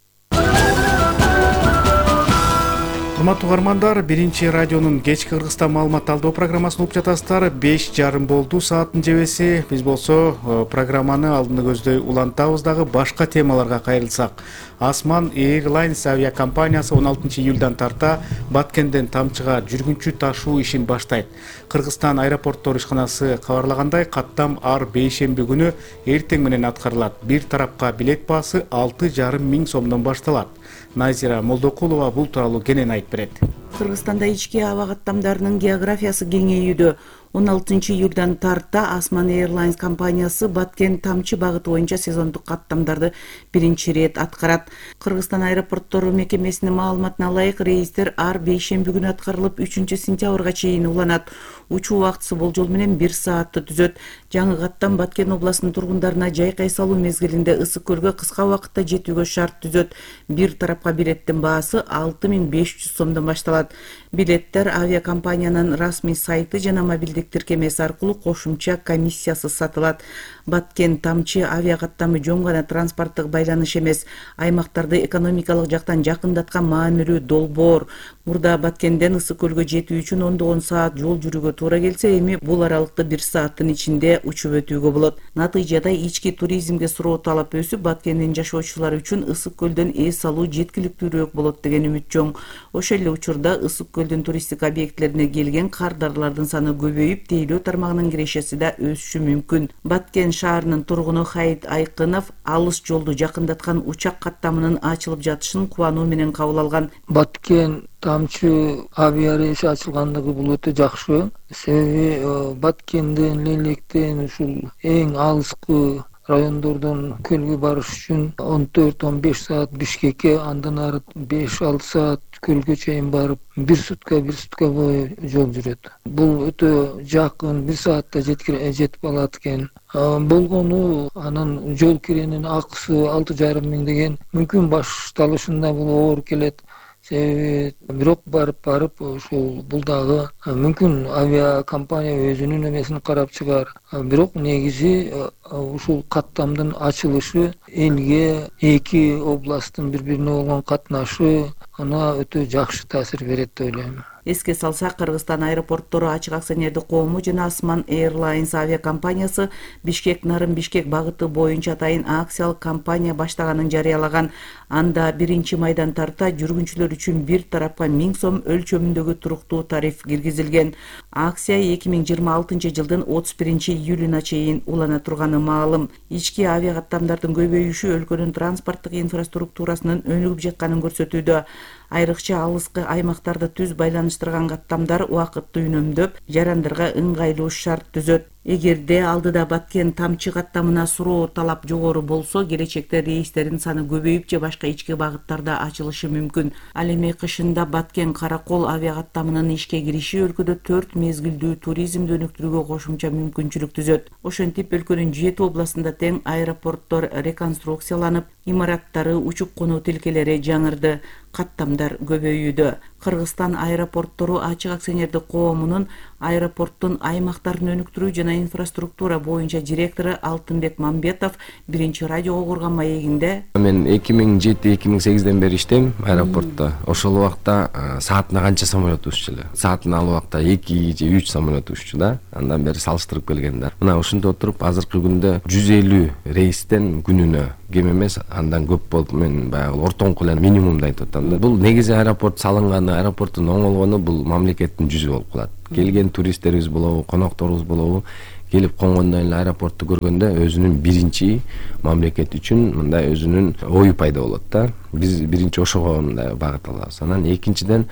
Урматтуу угармандар, Биринчи радионун кечки Кыргызстан маалымат алдоо программасын угуп жатасыздар. 5:30 болду сааттын жебеси. Биз болсо программаны алдыны көздөй улантабыз дагы башка темаларга кайрылсак. Асман Airlines авиакомпаниясы 16 июлдан тарта Баткенден Тамчыга жүргүнчү ташуу ишин баштайт. Кыргызстан аэропорттор ишканасы кабарлагандай, каттам ар бейшемби күнү эртең менен аткарылат. Бир тарапка билет баасы 6,5 миң сомдон башталат. Назира Молдокулова бул тууралуу кенен айтып берет. Кыргызстанда ички аба каттамдарынын географиясы кеңейүүдө. 16 июлдан тарта Асман Airlines компаниясы Баткен Тамчы багыты боюнча сезондук каттамдарды биринчи ирет аткарат. Кыргызстан аэропорттору мекемесинин маалыматына ылайык, рейстер ар бейшемби күнү аткарылып 3-сентябрга чейин уланат. Учуу убактысы болжол менен 1 саатты түзөт. Жаңы каттам Баткен областынын тургундарына жайкай салуу мезгилинде ысык көлгө кыска убакытта жетүүгө шарт түзөт. Бир тарапка билеттин баасы 6500 сомдон башталат. Билеттер авиакомпаниянын расмий сайты жана мобилдик тиркемеси аркылуу кошумча комиссиясыз сатылат. Баткен Тамчы авиакаттамы жөн гана транспорттук байланыш эмес, аймактарды экономикалык жактан жакындаткан маанилүү долбоор. Мурда Баткенден ысык көлгө жетүү үчүн ондогон саат жол жүрүүгө туура келсе, эми бул аралыкты 1 сааттын ичинде учуп өтүүгө болот. Натыйжада ички туризмге суроо талап өсүп, Баткендин жашоочулары үчүн ысык көлдөн эс алуу жеткиликтүүрөөк болот деген үмүт чоң. Ошол эле учурда ысык көлдүн туристтик объектилерине келген кардарлардын саны көбөйүп, тейлөө тармагынын кирешеси да өсүшү мүмкүн. Баткен шаарынын тургуну Хайит Айкынов алыс жолду жакындаткан учак каттамынын ачылып жатышын кубануу менен кабыл алган. Баткен Тамчы авиарейси ачылгандыгы бул өтө жакшы. Себеби Баткенден, Лелектен ушул эң алыскы райондордон көлгө барыш үчүн 14-15 саат Бишкекке, андан ары 5-6 саат көлгө чейин барып, 1 сутка бою жол жүрөт. Бул өтө жакын, 1 саатта жетип алат экен. Болгону анын жол киренин акысы 6,5 миң деген мүмкүн башталышында бул оор келет. Себеби бирок барып ушул бул дагы мүмкүн авиакомпания өзүнүн эмесин карап чыгар. Бирок негизи ушул каттамдын ачылышы элге, эки областтын бири-бирине болгон катнашы ана өтө жакшы таасир берет деп ойлойм. Эске салсак, Кыргызстан аэропорттору ачык акционердик коому жана Асман Airlines авиакомпаниясы Бишкек-Нарын-Бишкек багыты боюнча атайын акциялык компания баштаганын жарыялаган. Анда 1 майдан тарта жүргүнчүлөр үчүн бир тарапка 1000 сом өлчөмүндөгү туруктуу тариф киргизилген. Акция 2026 жылдын 31 июлуна чейин улана турганы маалым. Ички авиакаттамдардын көбөйүшү өлкөнүн транспорттук инфраструктурасынын өнүгүп жатканын көрсөтүүдө. Айрыкча алыскы аймактарды түз байланыштырган каттамдар убакытты үнөмдөп, жарандарга ыңгайлуу шарт түзөт. Эгерде алдыда Баткен Тамчы каттамына суроо талап жогору болсо, келечекте рейстердин саны көбөйүп же башка ички багыттарда ачылышы мүмкүн. Ал эми кышында Баткен Каракол авиакаттамынын ишке кириши өлкөдө 4 мезгилдүү туризмди өнүктүрүүгө кошумча мүмкүнчүлүк түзөт. Ошентип өлкөнүн 7 областында тең аэропорттор реконструкцияланып, имараттары, учуп конуу тилкелери жаңырды, каттамдар көбөйүүдө. Кыргызстан аэропорттору ачык акционердик коомунун аэропорттун аймактарын өнүктүрүү жана жана инфраструктура боюнча директору Алтынбек Мамбетов биринчи радиого курган маегинде: Мен 2007-2008ден бери иштейм аэропортто. Ошол убакта саатына канча самолет уччу эле? Саатына ал убакта 2 же 3 самолет уччу да. Андан бери салыштырып келгенде мына ушунда отуруп азыркы күндө 150 рейстен күнүнө кем эмес андан көп болуп, мен баягы ортоңку эле минимумду айтып атам да. Бул негизи аэропорт салынганы, аэропорттун оңолгону бул мамлекеттин жүзү болуп калат. Келген туристтерибиз болобу, конокторубуз болобу, келип конгондон эле аэропортту көргөндө өзүнүн биринчи мамлекет үчүн мындай өзүнүн ою пайда болот да. Биз биринчи ошого мындай багыт алабыз. Анан экинчиден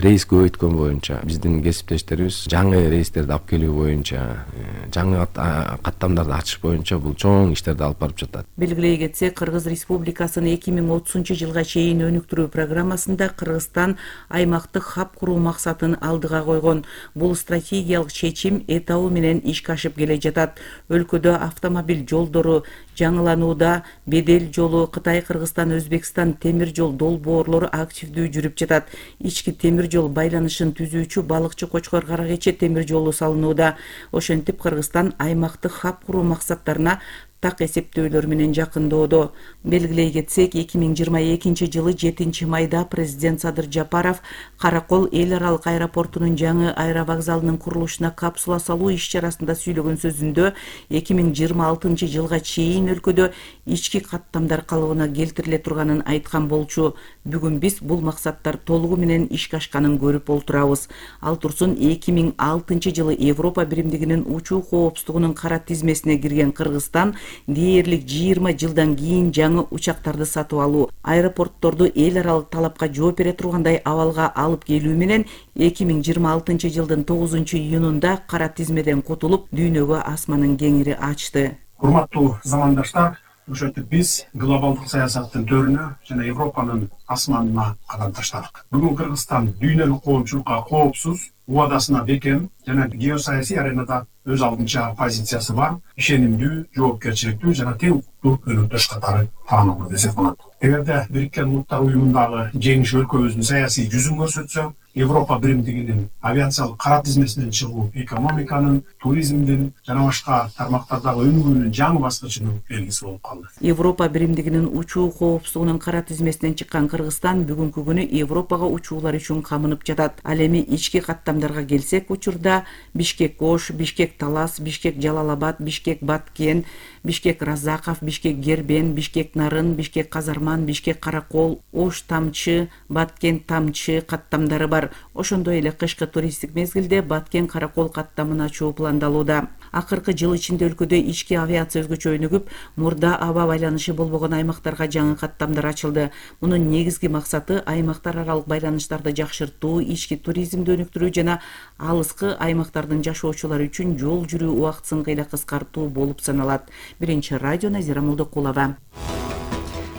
рейс көбөйткөн боюнча биздин кесиптештерибиз жаңы рейстерди алып келүү боюнча, жаңы каттамдарды ачыш боюнча бул чоң иштерди алып барып жатат. Белгилей кетсек, Кыргыз Республикасынын 2030 жылга чейин өнүктүрүү программасында Кыргызстан аймактык хаб куруу максатын алдыга койгон. Бул стратегиялык чечим этабы менен ишке ашып келе жатат. Өлкөдө автомобиль жолдору жаңыланууда, Бедел жолу, Кытай-Кыргызстан, Өзбекстан темир жол долбоорлору активдүү жүрүп жатат. Ички темир жол байланышын түзүүчү Балыкчы Кочкор Карагече темир жолу салынууда. Ошентип Кыргызстан аймактык хаб куруу максаттарына так эсептөөлөр менен жакындоодо. Белгилей кетсек, 2022 жылы 7 майда президент Садыр Жапаров Каракол эл аралык аэропортунун жаңы аэровокзалынын курулушуна капсула салуу иш-чарасында сүйлөгөн сөзүндө 2026 жылга чейин өлкөдө ички каттамдар калыбына келтириле турганын айткан болчу. Бүгүн биз бул максаттар толугу менен ишке ашканын көрүп олтурабыз. Ал турсун 2006 жылы Европа биримдигинин учуу коопсуздугунун кара тизмесине кирген Кыргызстан дээрлик 20 жылдан кийин жаңы учактарды сатып алуу, аэропортторду эл аралык талапка жооп бере тургандай абалга алып келүү менен 2026 жылдын 9 июнунда кара тизмеден кутулуп, дүйнөгө асманын кеңири ачты. Урматтуу замандаштар, ошентип биз глобалдык саясаттын төрүнө жана Европанын асманына кадам таштадык. Бүгүн Кыргызстан дүйнөлүк коомчулукка коопсуз, убадасына бекем жана геосаясий аренада өз алдынча позициясы бар, ишенимдүү, жоопкерчиликтүү жана тең укуктуу өнөктөш катары таанылуу десек болот. Эгерде Бириккен Улуттар Уюмундагы жеңиш өлкөбүздүн саясий жүзүн көрсөтсө, Европа биримдигинин авиациялык кара тизмесинен чыгуу экономиканын, туризмдин жана башка тармактардагы өнүгүүнүн жаңы баскычынын белгиси болуп калды. Европа биримдигинин учуу коопсуздугунун кара тизмесинен чыккан Кыргызстан бүгүнкү күнү Европага учуулар үчүн камынып жатат. Ал эми ички каттамдарга келсек, учурда Бишкек-Ош, Бишкек-Талас, Бишкек-Жалалабад, Бишкек-Баткен, Бишкек-Разаков, Бишкек-Гербен, Бишкек-Нарын, Бишкек-Казарман, Бишкек-Каракол, Ош-Тамчы, Баткен-Тамчы каттамдары бар. Ошондой эле кышкы туристтик мезгилде Баткен-Каракол каттамын ачуу пландалууда. Акыркы жыл ичинде өлкөдө ички авиация өзгөчө өнүгүп, мурда аба байланышы болбогон аймактарга жаңы каттамдар ачылды. Мунун негизги максаты аймактар аралык байланыштарды жакшыртуу, ички туризмди өнүктүрүү жана алыскы аймактардын жашоочулары үчүн жол жүрүү убактысын кыйла кыскартуу болуп саналат. Биринчи радио Назира Молдокулова.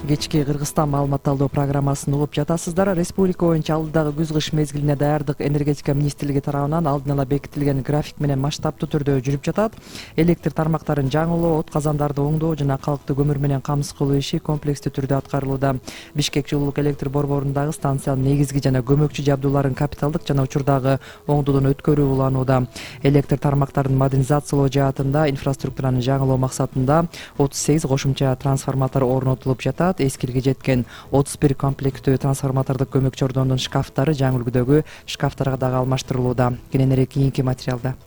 Кечки Кыргызстан маалымат талдоо программасын угуп жатасыздар. Республика боюнча алдыдагы күз-кыш мезгилине даярдык энергетика министрлиги тарабынан алдын ала бекитилген график менен масштабтуу түрдө жүрүп жатат. Электр тармактарын жаңылоо, от казандарды оңдоо жана калкты көмүр менен камсыз кылуу иши комплекстүү түрдө аткарылууда. Бишкек жылуулук электр борборундагы станциянын негизги жана көмөкчү жабдууларын капиталдык жана учурдагы оңдоодон өткөрүү уланууда. Электр тармактарын модернизациялоо жаатында инфраструктураны жаңылоо максатында 38 кошумча трансформатор орнотулуп жатат. Эскилге жеткен 31 комплекттүү трансформатордук көмөкчү ордондун шкафтары жаңы үлгүдөгү шкафтарга дагы алмаштырылууда. Кененирээк кийинки материалда.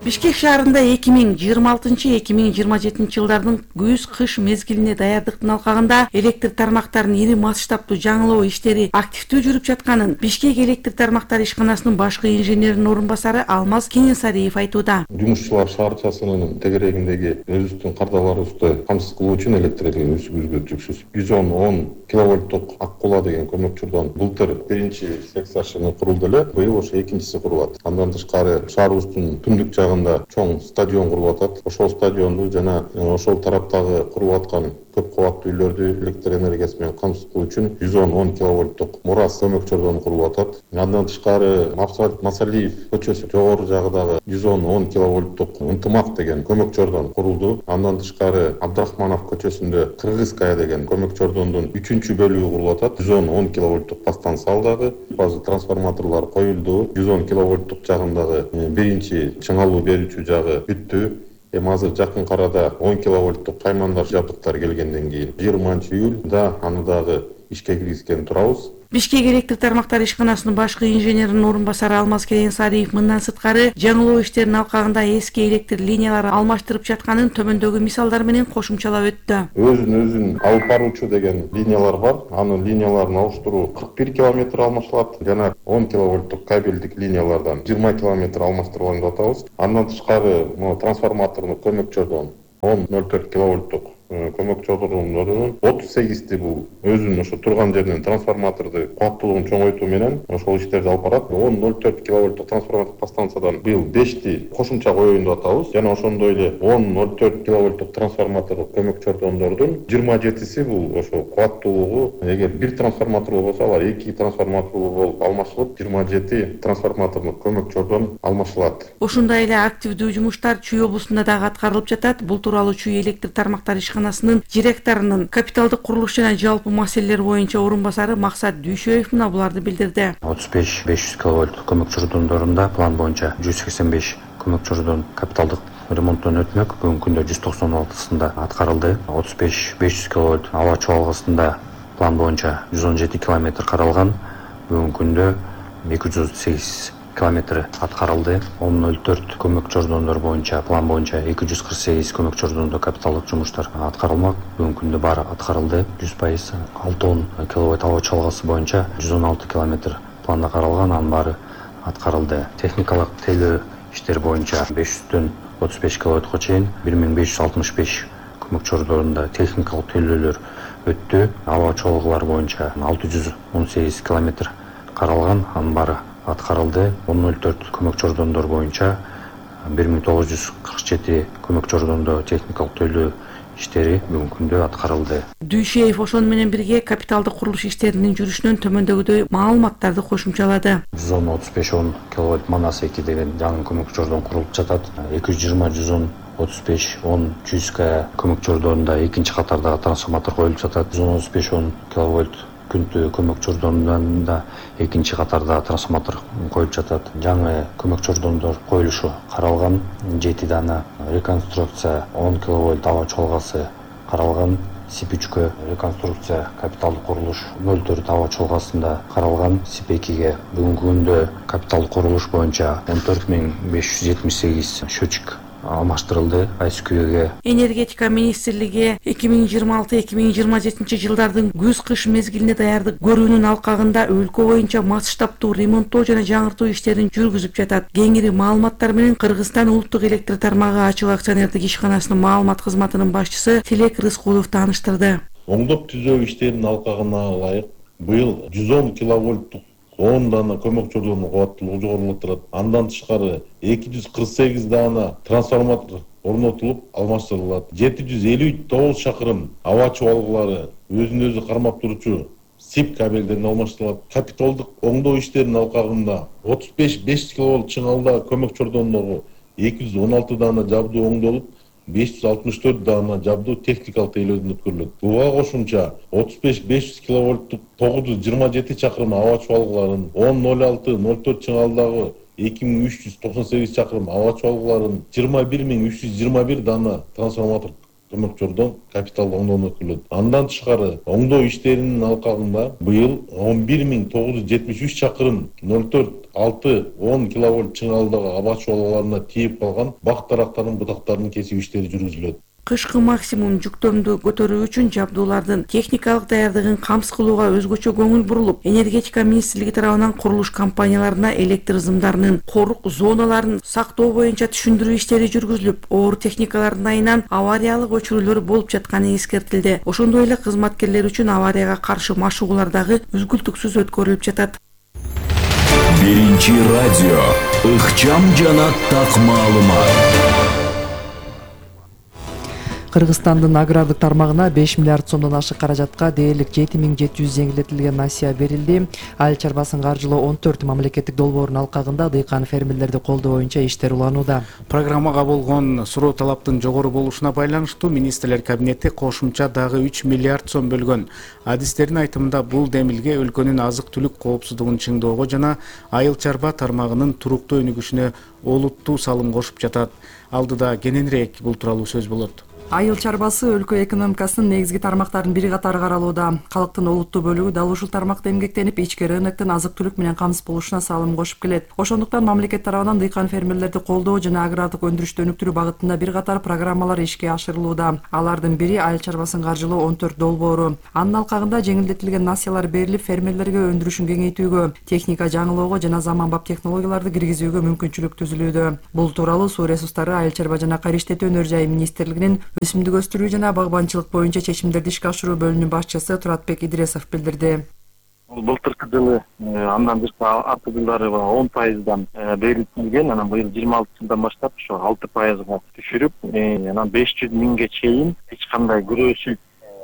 Бишкек шаарында 2026-2027 жылдардын күз-кыш мезгилине даярдыктын алкагында электр тармактарын ири масштабтуу жаңылоо иштери активдүү жүрүп жатканын Бишкек электр тармактары ишканасынын башкы инженеринин орун басары Алмаз Кенесариев айтууда. Жумушчулар шаарчасынын тегерегиндеги өзүбүздүн кардаларыбызды камсыз кылуу үчүн электр энергиясы жүксүз 110 киловольттук ак кула деген көмөкчүрдөн былтыр биринчи секциясы курулду эле, быйыл ошо экинчиси курулат. Андан тышкары шаарыбыздын түндүк жагында чоң стадион куруп атат. Ошол стадионду жана ошол тараптагы куруп аткан көп кабаттуу үйлөрдү электр энергиясы менен камсыздоо үчүн 110 киловольттук мурас көмөк чордону курулуп атат. Андан тышкары Масалиев көчөсү жогору жагындагы 110 киловольттук ынтымак деген көмөк чордон курулду. Андан тышкары Абдрахманов көчөсүндө Кыргызская деген көмөк чордондун 3-чү бөлүгү курулуп атат. 110 киловольттук подстанция алдагы база трансформаторлор коюлду. 110 киловольттук жагындагы биринчи чыңалуу берүүчү жагы бүттү. Эми азыр жакын арада 10 киловольттук каймандар жабдыктар келгенден кийин 20-июлда аны дагы ишке киргизген турабыз. Бишкек электр тармактары ишканасынын башкы инженеринин орун басары Алмаз Керенсариев мындан сырткары жаңылоо иштеринин алкагында эски электр линиялары алмаштырып жатканын төмөндөгү мисалдар менен кошумчалап өттү. Өзүн алып баруучу деген линиялар бар. Анын линияларын алыштыруу 41 километр алмаштырылат. Жана 10 киловольттук кабелдик линиялардан 20 километр алмаштырылган деп атабыз. Андан тышкары трансформатордун көмөк чордон 10-04 киловольттук көмөк чордондорунун 38ти бул өзүнүн ошо турган жеринен трансформаторду кубаттуулугун чоңойтуу менен ошол иштерди алып барат. 10-04 киловольттук трансформатор подстанциядан быйыл 5ти кошумча коеюн деп атабыз. Жана ошондой эле 10-04 киловольттук трансформатор көмөк чордондордун 27си бул ошо кубаттуулугу эгер бир трансформатор болсо алар 2 трансформатор болуп алмашылып 27 трансформатордук көмөк чордон алмашылат. Ошондой эле активдүү жумуштар Чүй облусунда дагы аткарылып жатат. Бул тууралуу Чүй электр тармактары ишканасынын директорунун капиталдык курулуш жана жалпы маселелер боюнча орун басары Максат Дүйшөев мына буларды билдирди. 35-500 киловольт көмөк чордондорунда план боюнча 185 көмөк чордон капиталдык ремонттон өтмөк. Бүгүнкү күндө 196-сында аткарылды. 35-500 киловольт аба чуалгысында план боюнча 117 километр каралган. Бүгүнкү күндө 238 километр аткарылды. 10-04 көмөк чордондор боюнча план боюнча 248 көмөк чордондо капиталдык жумуштар аткарылмак. Бүгүнкү күндө баары аткарылды. 100%. 6 киловольт аба чалгысы боюнча 116 километр планда каралган, анын баары аткарылды. Техникалык тейлөө иштер боюнча 500-төн 35 киловольтко чейин 1565 көмөк чордорунда техникалык тейлөөлөр өттү. Аба чалгылар боюнча 618 километр каралган, анын баары аткарылды. 10-04 көмөк чордондор боюнча 1947 көмөк чордондо техникалык тейлөө иштери бүгүнкү күндө аткарылды. Дүйшөев ошону менен бирге капиталдык курулуш иштеринин жүрүшүнөн төмөндөгүдөй маалыматтарды кошумчалады. 110-35-10 киловольт Манас 2 деген жаңы көмөк чордон курулуп жатат. 220-110-35-10 Чүйская көмөк чордонунда экинчи катардагы трансформатор коюлуп жатат. 110-35-10 киловольт Күнтү көмөк чордонунда экинчи катарда трансформатор коюлуп жатат. Жаңы көмөк чордондор коюлушу каралган. 7 дана реконструкция 10 киловольт аба чалгасы каралган. СИП-3 реконструкция капиталдык курулуш 04 аба чалгасында каралган. СИП-2 бүгүнкү күндө капиталдык курулуш боюнча 14578 счетчик алмаштырылды. АСКге Энергетика министрлиги 2026-2027 жылдардын күз-кыш мезгилине даярдык көрүүнүн алкагында өлкө боюнча масштабтуу ремонттоо жана жаңыртуу иштерин жүргүзүп жатат. Кеңири маалыматтар менен Кыргызстан улуттук электр тармагы ачык акционердик ишканасынын маалымат кызматынын башчысы Тилек Рыскулов тааныштырды. Оңдоп түзөө иштеринин алкагына ылайык быйыл 110 киловольттук 10 дана көмөк чордонун кубаттуулугу жогорулатылат. Андан тышкары 248 дана трансформатор орнотулуп алмаштырылат. 759 чакырым аба чуалгылары өзүн-өзү кармап турчу СИП кабелдерин алмаштырылат. Капиталдык оңдоо иштеринин алкагында 35-5 киловольт чыңалда көмөк чордондору 216 дана жабдуу оңдолуп, 564 дана жабдуу техникалык тейлөөдөн өткөрүлөт. Буга кошумча 35-500 киловольттук 927 чакырым аба чуалгыларын 10-06-04 чыңалдагы 2398 чакырым аба чуалгыларын 21321 дана трансформатор көмөк чордон капиталдык оңдоодон өткөрүлөт. Андан тышкары оңдоо иштеринин алкагында быйыл 11973 чакырым 04-6-10 киловольт чыңалдагы аба чуалгаларына тийип калган бак дарактардын бутактарынын кесип иштери жүргүзүлөт. Кышкы максимум жүктөмдү көтөрүү үчүн жабдуулардын техникалык даярдыгын камсыз кылууга өзгөчө көңүл бурулуп, энергетика министрлиги тарабынан курулуш компанияларына электр зымдарынын корук зоналарын сактоо боюнча түшүндүрүү иштери жүргүзүлүп, оор техникалардын айынан авариялык өчүрүүлөр болуп жатканы эскертилди. Ошондой эле кызматкерлер үчүн аварияга каршы машыгуулар дагы үзгүлтүксүз өткөрүлүп жатат. Биринчи радио ыкчам жана так маалымат. Кыргызстандын агрардык тармагына 5 миллиард сомдон ашык каражатка дээрлик 7700 жеңилдетилген насыя берилди. Айыл чарбасын каржылоо 14 мамлекеттик долбоордун алкагында дыйкан фермерлерди колдоо боюнча иштер уланууда. Программага болгон суроо талаптын жогору болушуна байланыштуу министрлер кабинети кошумча дагы 3 миллиард сом бөлгөн. Адистердин айтымында бул демилге өлкөнүн азык-түлүк коопсуздугун чыңдоого жана айыл чарба тармагынын туруктуу өнүгүшүнө олуттуу салым кошуп жатат. Алдыда кененирээк бул тууралуу сөз болот. Айыл чарбасы өлкө экономикасынын негизги тармактарын бир катар каралууда. Калктын олуттуу бөлүгү дал ушул тармакта эмгектенип, ички рыноктун азык-түлүк менен камсыз болушуна салым кошуп келет. Ошондуктан мамлекет тарабынан дыйкан фермерлерди колдоо жана агрардык өндүрүштү өнүктүрүү багытында бир катар программалар ишке ашырылууда. Алардын бири айыл чарбасын каржылоо 14 долбоору. Анын алкагында жеңилдетилген насыялар берилип, фермерлерге өндүрүшүн кеңейтүүгө, техника жаңылоого жана заманбап технологияларды киргизүүгө мүмкүнчүлүк түзүлүүдө. Бул тууралуу Суу ресурстары, айыл чарба жана кайра иштетүү өнөр жайы министрлигинин өсүмдүк өстүрүү жана багбанчылык боюнча чечимдерди ишке ашыруу бөлүмүнүн башчысы Туратбек Идресов билдирди. Былтыркы жылы андан бирки аркы жылдары 10%дан берилип келген, анан быйыл 26-жылдан баштап ошо 6%га түшүрүп, анан 500 миңге чейин эч кандай күрөөсүз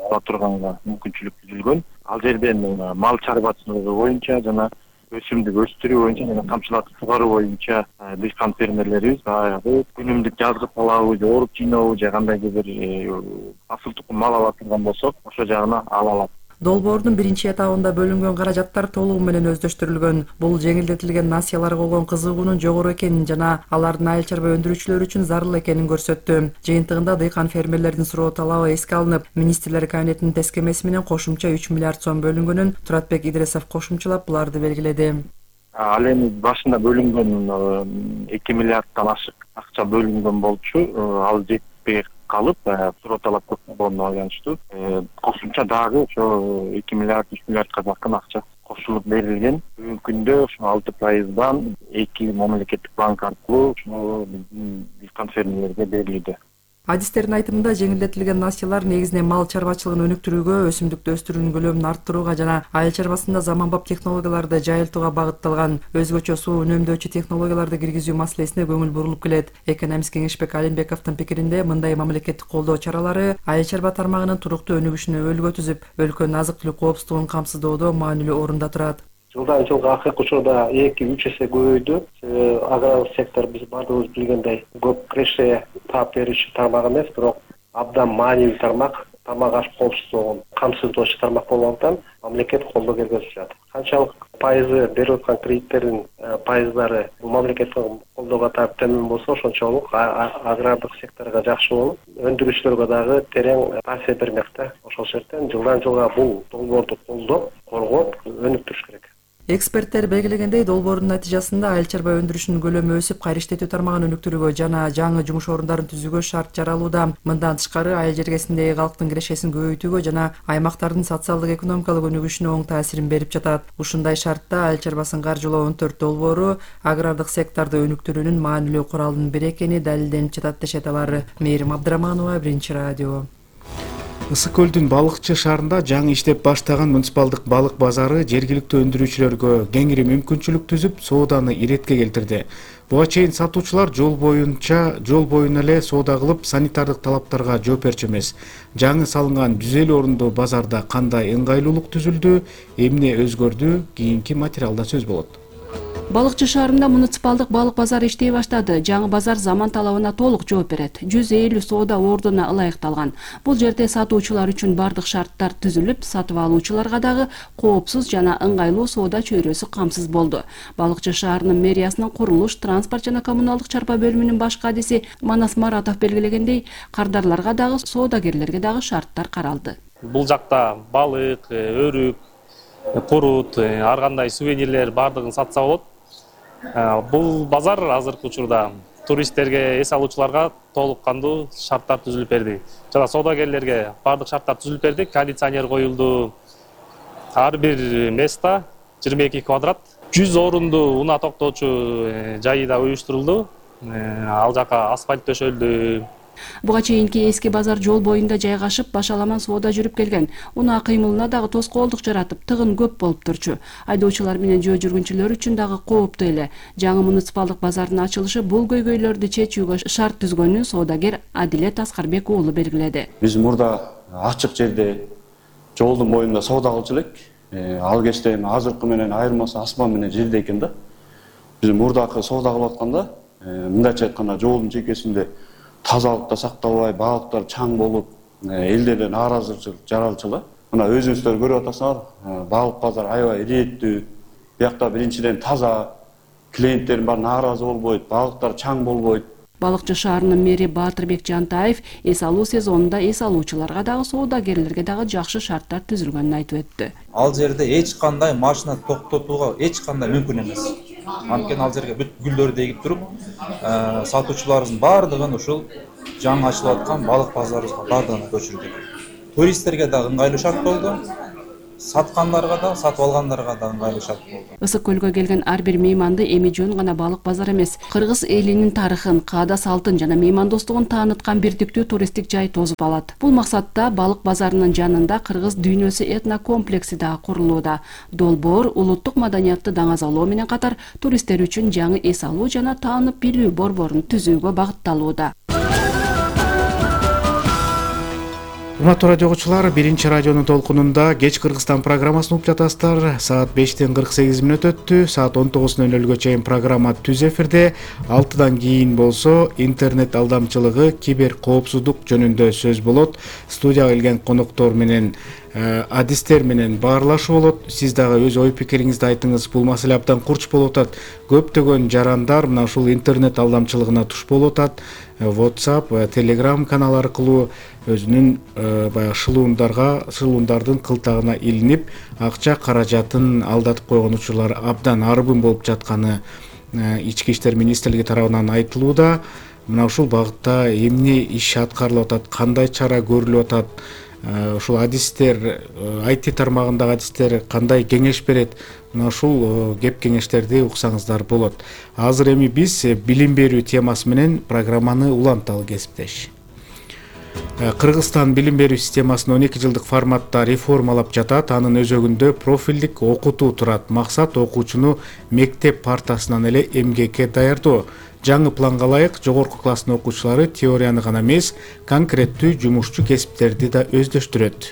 ала турганга мүмкүнчүлүк түзүлгөн. Ал жерден мал чарбачылыгы боюнча жана өсүмдүк өстүрүү боюнча жана камчылатып сугаруу боюнча дыйкан фермерлерибиз баягы күнүмдүк жазгы талабы, ооруп жыйнообу же кандайдыр бир асыл тукум мал ала турган болсок, ошо жагына ала алат. Долбоордун биринчи этабында бөлүнгөн каражаттар толугу менен өздөштүрүлгөн. Бул жеңилдетилген насыяларга болгон кызыгуунун жогору экенин жана алардын айыл чарба өндүрүүчүлөр үчүн зарыл экенин көрсөттү. Жыйынтыгында дыйкан фермерлердин суроо талабы эске алынып, министрлер кабинетинин тескемеси менен кошумча 3 миллиард сом бөлүнгөнүн Туратбек Идресов кошумчалап буларды белгиледи. Ал эми башында бөлүнгөн 2 миллиарддан ашык акча бөлүнгөн болчу, ал жетпей калып, суроо талап көп болгонуна байланыштуу кошумча дагы ошо 2 миллиард 3 миллиардка жакын акча кошулуп берилген. Бүгүнкү күндө ошо 6%дан 2 мамлекеттик банк аркылуу ошо дыйкан фермерлерге берилүүдө. Адистердин айтымында жеңилдетилген насыялар негизинен мал чарбачылыгын өнүктүрүүгө, өсүмдүктү өстүрүүнүн көлөмүн арттырууга жана айыл чарбасында заманбап технологияларды жайылтууга багытталган. Өзгөчө суу үнөмдөөчү технологияларды киргизүү маселесине көңүл бурулуп келет. Экономист Кеңешбек Алимбековдун пикиринде, мындай мамлекеттик колдоо чаралары айыл чарба тармагынын туруктуу өнүгүшүнө өөлгө түзүп, өлкөнүн азык-түлүк коопсуздугун камсыздоодо маанилүү орунда турат. Жылдан жылга акыркы учурда 2-3 эсе көбөйдү. Аграрлык сектор биз баардыгыбыз билгендей көп киреше таап берүүчү тармак эмес, бирок абдан маанилүү тармак, тамак аш коопсуздугун камсыздоочу тармак болгондуктан мамлекет колдоо көрсөтүп жатат. Канчалык пайызы берип аткан кредиттердин пайыздары бул мамлекеттин колдоого таап төмөн болсо, ошончолук агрардык секторго жакшы болуп, өндүрүүчүлөргө дагы терең таасир бермек да. Ошол себептен жылдан жылга бул долбоорду колдоп, коргоп, өнүктүрүш керек. Эксперттер белгилегендей, долбоордун натыйжасында айыл чарба өндүрүшүнүн көлөмү өсүп, кайра иштетүү тармагын өнүктүрүүгө жана жаңы жумуш орундарын түзүүгө шарт жаралууда. Мындан тышкары айыл жергесиндеги калктын кирешесин көбөйтүүгө жана аймактардын социалдык экономикалык өнүгүшүнө оң таасирин берип жатат. Ушундай шартта айыл чарбасын каржылоо 14 долбоору агрардык секторду өнүктүрүүнүн маанилүү куралынын бири экени далилденип жатат дешет алар. Мээрим Абдыраманова, Биринчи радио. Ысык көлдүн Балыкчы шаарында жаңы иштеп баштаган муниципалдык балык базары жергиликтүү өндүрүүчүлөргө кеңири мүмкүнчүлүк түзүп, сооданы иретке келтирди. Буга чейин сатуучулар жол боюна эле соода кылып, санитардык талаптарга жооп берчү эмес. Жаңы салынган 150 орунду базарда кандай ыңгайлуулук түзүлдү, эмне өзгөрдү, кийинки материалда сөз болот. Балыкчы шаарында муниципалдык балык базары иштей баштады. Жаңы базар заман талабына толук жооп берет. 150 соода ордуна ылайыкталган. Бул жерде сатуучулар үчүн бардык шарттар түзүлүп, сатып алуучуларга дагы коопсуз жана ыңгайлуу соода чөйрөсү камсыз болду. Балыкчы шаарынын мэриясынын курулуш, транспорт жана коммуналдык чарба бөлүмүнүн баш кадиси Манас Маратов белгилегендей, кардарларга дагы, соодагерлерге дагы шарттар каралды. Бул жакта балык, өрүк, курут, ар кандай сувенирлер бардыгын сатса болот. Бул базар азыркы учурда туристтерге, эс алуучуларга толук кандуу шарттар түзүлүп берди. Жана соодагерлерге бардык шарттар түзүлүп берди. Кондиционер коюлду. Ар бир место 22 квадрат. 100 орунду унаа токтоочу жайы да уюштурулду. Ал жака асфальт төшөлдү, Буга чейинки эски базар жол боюнда жайгашып, башаламан соода жүрүп келген. Унаа кыймылына дагы тоскоолдук жаратып, тыгын көп болуп турчу. Айдоочулар менен жөө жүргүнчүлөр үчүн дагы кооптуу эле. Жаңы муниципалдык базардын ачылышы бул көйгөйлөрдү чечүүгө шарт түзгөнүн соодагер Адилет Аскарбек уулу белгиледи. Биз мурда ачык жерде жолдун боюнда соода кылчу элек. Ал кечте азыркы менен айырмасы асман менен жерде экен да. Биз мурдакы соода кылып атканда, мындайча айтканда жолдун чекесинде тазалык да сакталбай, балыктар чаң болуп, элдерден нааразычылык жаралчу эле. Мына өзүңүздөр көрүп атасыңар, балык базар аябай ирээттүү. Биякта биринчиден таза, клиенттердин баары нааразы болбойт, балыктар чаң болбойт. Балыкчы шаарынын мэри Баатырбек Жантаев эс алуу сезонунда эс алуучуларга дагы соодагерлерге дагы жакшы шарттар түзүлгөнүн айтып өттү. Ал жерде эч кандай машина токтотууга эч кандай мүмкүн эмес. Анткени ал жерге бүт гүлдөрдү эгип туруп, сатуучулардын баардыгын ушул жаңы ачылып аткан балык базарыбызга баардыгын көчүрдүк. Туристтерге дагы ыңгайлуу шарт болду. Саткандарга да, сатып алгандарга да ыңгайлуу шарт болду. Ысык көлгө келген ар бир мейманды эми жөн гана балык базар эмес, кыргыз элинин тарыхын, каада салтын жана меймандостугун тааныткан бирдиктүү туристтик жай тосуп алат. Бул максатта балык базарынын жанында кыргыз дүйнөсү этно комплекси дагы курулууда. Долбоор улуттук маданиятты даңазалоо менен катар туристтер үчүн жаңы эс алуу жана таанып билүү борборун түзүүгө багытталууда. Урматтуу радио окуучулар, биринчи радионун толкунунда кеч Кыргызстан программасын угуп жатасыздар. Саат 5:48 өттү. Саат 19:00 чейин программа түз эфирде. 6-дан кийин болсо интернет алдамчылыгы, кибер коопсуздук жөнүндө сөз болот. Студияга келген коноктор менен адистер менен баарлашуу болот. Сиз дагы өз ой пикириңизди айтыңыз. Бул маселе абдан курч болуп атат. Көптөгөн жарандар мына ушул интернет алдамчылыгына туш болуп атат. WhatsApp, Telegram канал аркылуу өзүнүн баягы шылуундардын кылтагына илинип, акча каражатын алдатып койгон учурлар абдан арбын болуп жатканы Ички иштер министрлиги тарабынан айтылууда. Мына ушул багытта эмне иш аткарылып атат, кандай чара көрүлүп атат? Ушул адистер, IT тармагындагы адистер кандай кеңеш берет? Мына ушул кеп кеңештерди уксаңыздар болот. Азыр эми биз билим берүү темасы менен программаны уланталы кесиптеш. Кыргызстан билим берүү системасын 12 жылдык форматта реформалап жатат. Анын өзөгүндө профилдик окутуу турат. Максат окуучуну мектеп партасынан эле эмгекке даярдоо. Жаңы планга ылайык жогорку класстын окуучулары теорияны гана эмес, конкреттүү жумушчу кесиптерди да өздөштүрөт.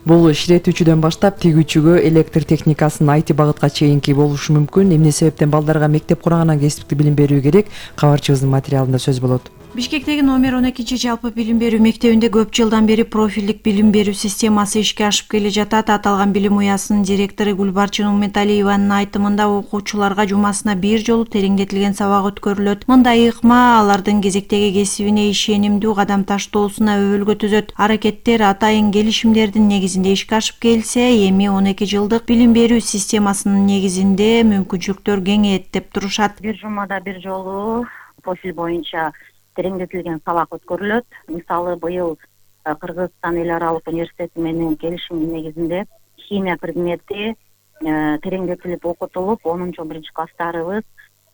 Бул ширетүүчүдөн баштап тигүүчүгө, электр техникасын IT багытка чейинки болушу мүмкүн. Эмне себептен балдарга мектеп курагынан кесиптик билим берүү керек? Кабарчыбыздын материалында сөз болот. Бишкектеги номер 12 жалпы билим берүү мектебинде көп жылдан бери профилдик билим берүү системасы ишке ашып келе жатат. Аталган билим уясынын директору Гүлбарчын Умметалиеванын айтымында окуучуларга жумасына бир жолу тереңдетилген сабак өткөрүлөт. Мындай ыкма алардын кезектеги кесибине ишенимдүү кадам таштоосуна өбөлгө түзөт. Аракеттер атайын келишимдердин негизинде ишке ашып келсе, эми 12 жылдык билим берүү системасынын негизинде мүмкүнчүлүктөр кеңейет деп турушат. Бир жумада бир жолу профиль боюнча тереңдетилген сабак өткөрүлөт. Мисалы, быйыл Кыргызстан эл аралык университети менен келишимдин негизинде химия предмети тереңдетилип окутулуп, 10-11 класстарыбыз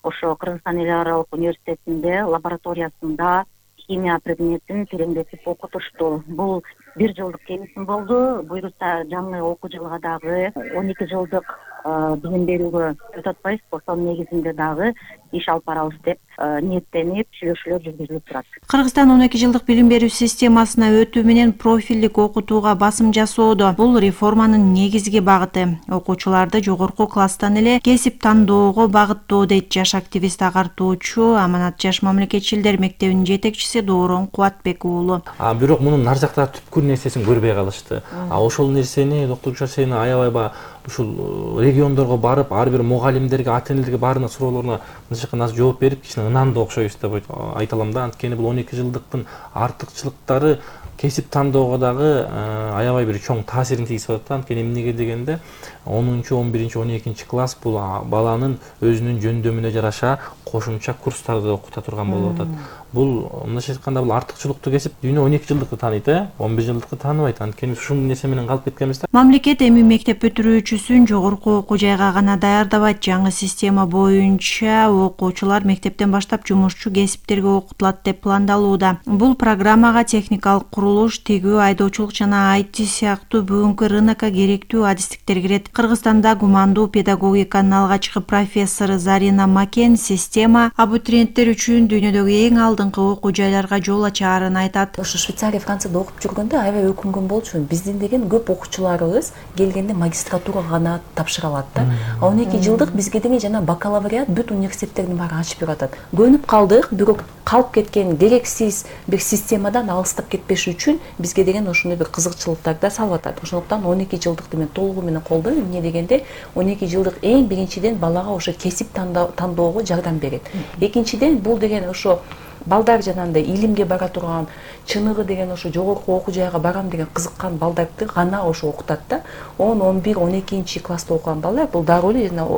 ошо Кыргызстан эл аралык университетинде лабораториясында химия предметин тереңдетип окутушту. Бул бир жылдык келишим болду. Буйруса жаңы окуу жылга дагы 12 жылдык билим берүүгө өтүп атпайбыз. Ошонун негизинде дагы иш алып барабыз деп ниеттенип, сүйлөшүүлөр жүргүзүлүп турат. Кыргызстан 12 жылдык билим берүү системасына өтүү менен профилдик окутууга басым жасоодо. Бул реформанын негизги багыты. Окуучуларды жогорку класстан эле кесип тандоого багыттоо, дейт жаш активист агартуучу Аманат жаш мамлекетчилдер мектебинин жетекчиси Доорон Кубатбек уулу. Бирок мунун нар жактагы түпкүр нерсесин көрбөй калышты. Ошол нерсени доктор Жашени аябай ушул региондорго барып, ар бир мугалимдерге, ата энелерге баарына суроолоруна мындайча жооп берип, кичине ынандуу окшойбуз деп айта алам да. Анткени бул 12 жылдыктын артыкчылыктары кесип тандоого дагы аябай бир чоң таасирин тийгизип атат. Анткени эмнеге дегенде 10-11, 12 класс бул баланын өзүнүн жөндөмүнө жараша кошумча курстарды окута турган болуп атат. бул мындайча айтканда бул артыкчылыктуу кесип дүйнө 12 жылдыкты тааныйт, 11 жылдыкты тааныбайт. Анткени ушул нерсе менен калып кеткенбиз да. Мамлекет эми мектеп бүтүрүүчүсүн жогорку окуу жайга гана даярдабайт. Жаңы система боюнча окуучулар мектептен баштап жумушчу кесиптерге окутулат деп пландалууда. Бул программага техникалык курулуш, тигүү, айдоочулук жана IT сыяктуу бүгүнкү рынокко керектүү адистиктер кирет. Кыргызстанда гумандуу педагогиканын алгачкы профессору Зарина Макен система абитуриенттер үчүн дүйнөдөгү эң алдыңкы окуу жайларга жол ачаарын айтат. Ошо Швейцария, Францияда окуп жүргөндө аябай өкүнгөн болчумун. Биздин деген көп окуучуларыбыз келгенде магистратурага гана тапшыра алат да. 12 жылдык бизге деген жана бакалавриат бүт университеттердин баары ачып берип атат. Көнүп калдык, бирок калып кеткен керексиз бир системадан алыстап кетпеш үчүн бизге деген ошондой бир кызыкчылыктарды да салып атат. Ошондуктан 12 жылдыкты мен толугу менен колдойм. Эмне дегенде 12 жылдык эң биринчиден балага ошо кесип тандоого жардам берет. Экинчиден бул деген ошо балдар жанагындай илимге бара турган, чыныгы деген ошо жогорку окуу жайга барам деген кызыккан балдарды гана ошо окутат да. 10, 11, 12 класста окуган балдар бул дароо эле жана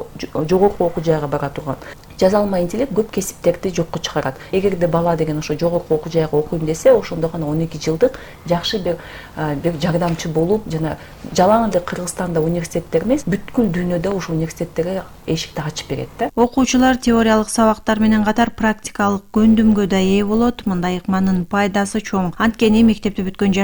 жогорку окуу жайга бара турган. Жазалма интеллект көп кесиптерди жокко чыгарат. Эгерде бала деген ошо жогорку окуу жайга окуйм десе, ошондо гана 12 жылдык жакшы бир жардамчы болуп, жана жалаң эле Кыргызстанда университеттер эмес, бүткүл дүйнөдө ошо университеттерге эшикти ачып берет да. Окуучулар теориялык сабактар менен катар практикалык көндүмгө да ээ болот. Мындай ыкманын пайдасы чоң. Анткени мектепти бүткөн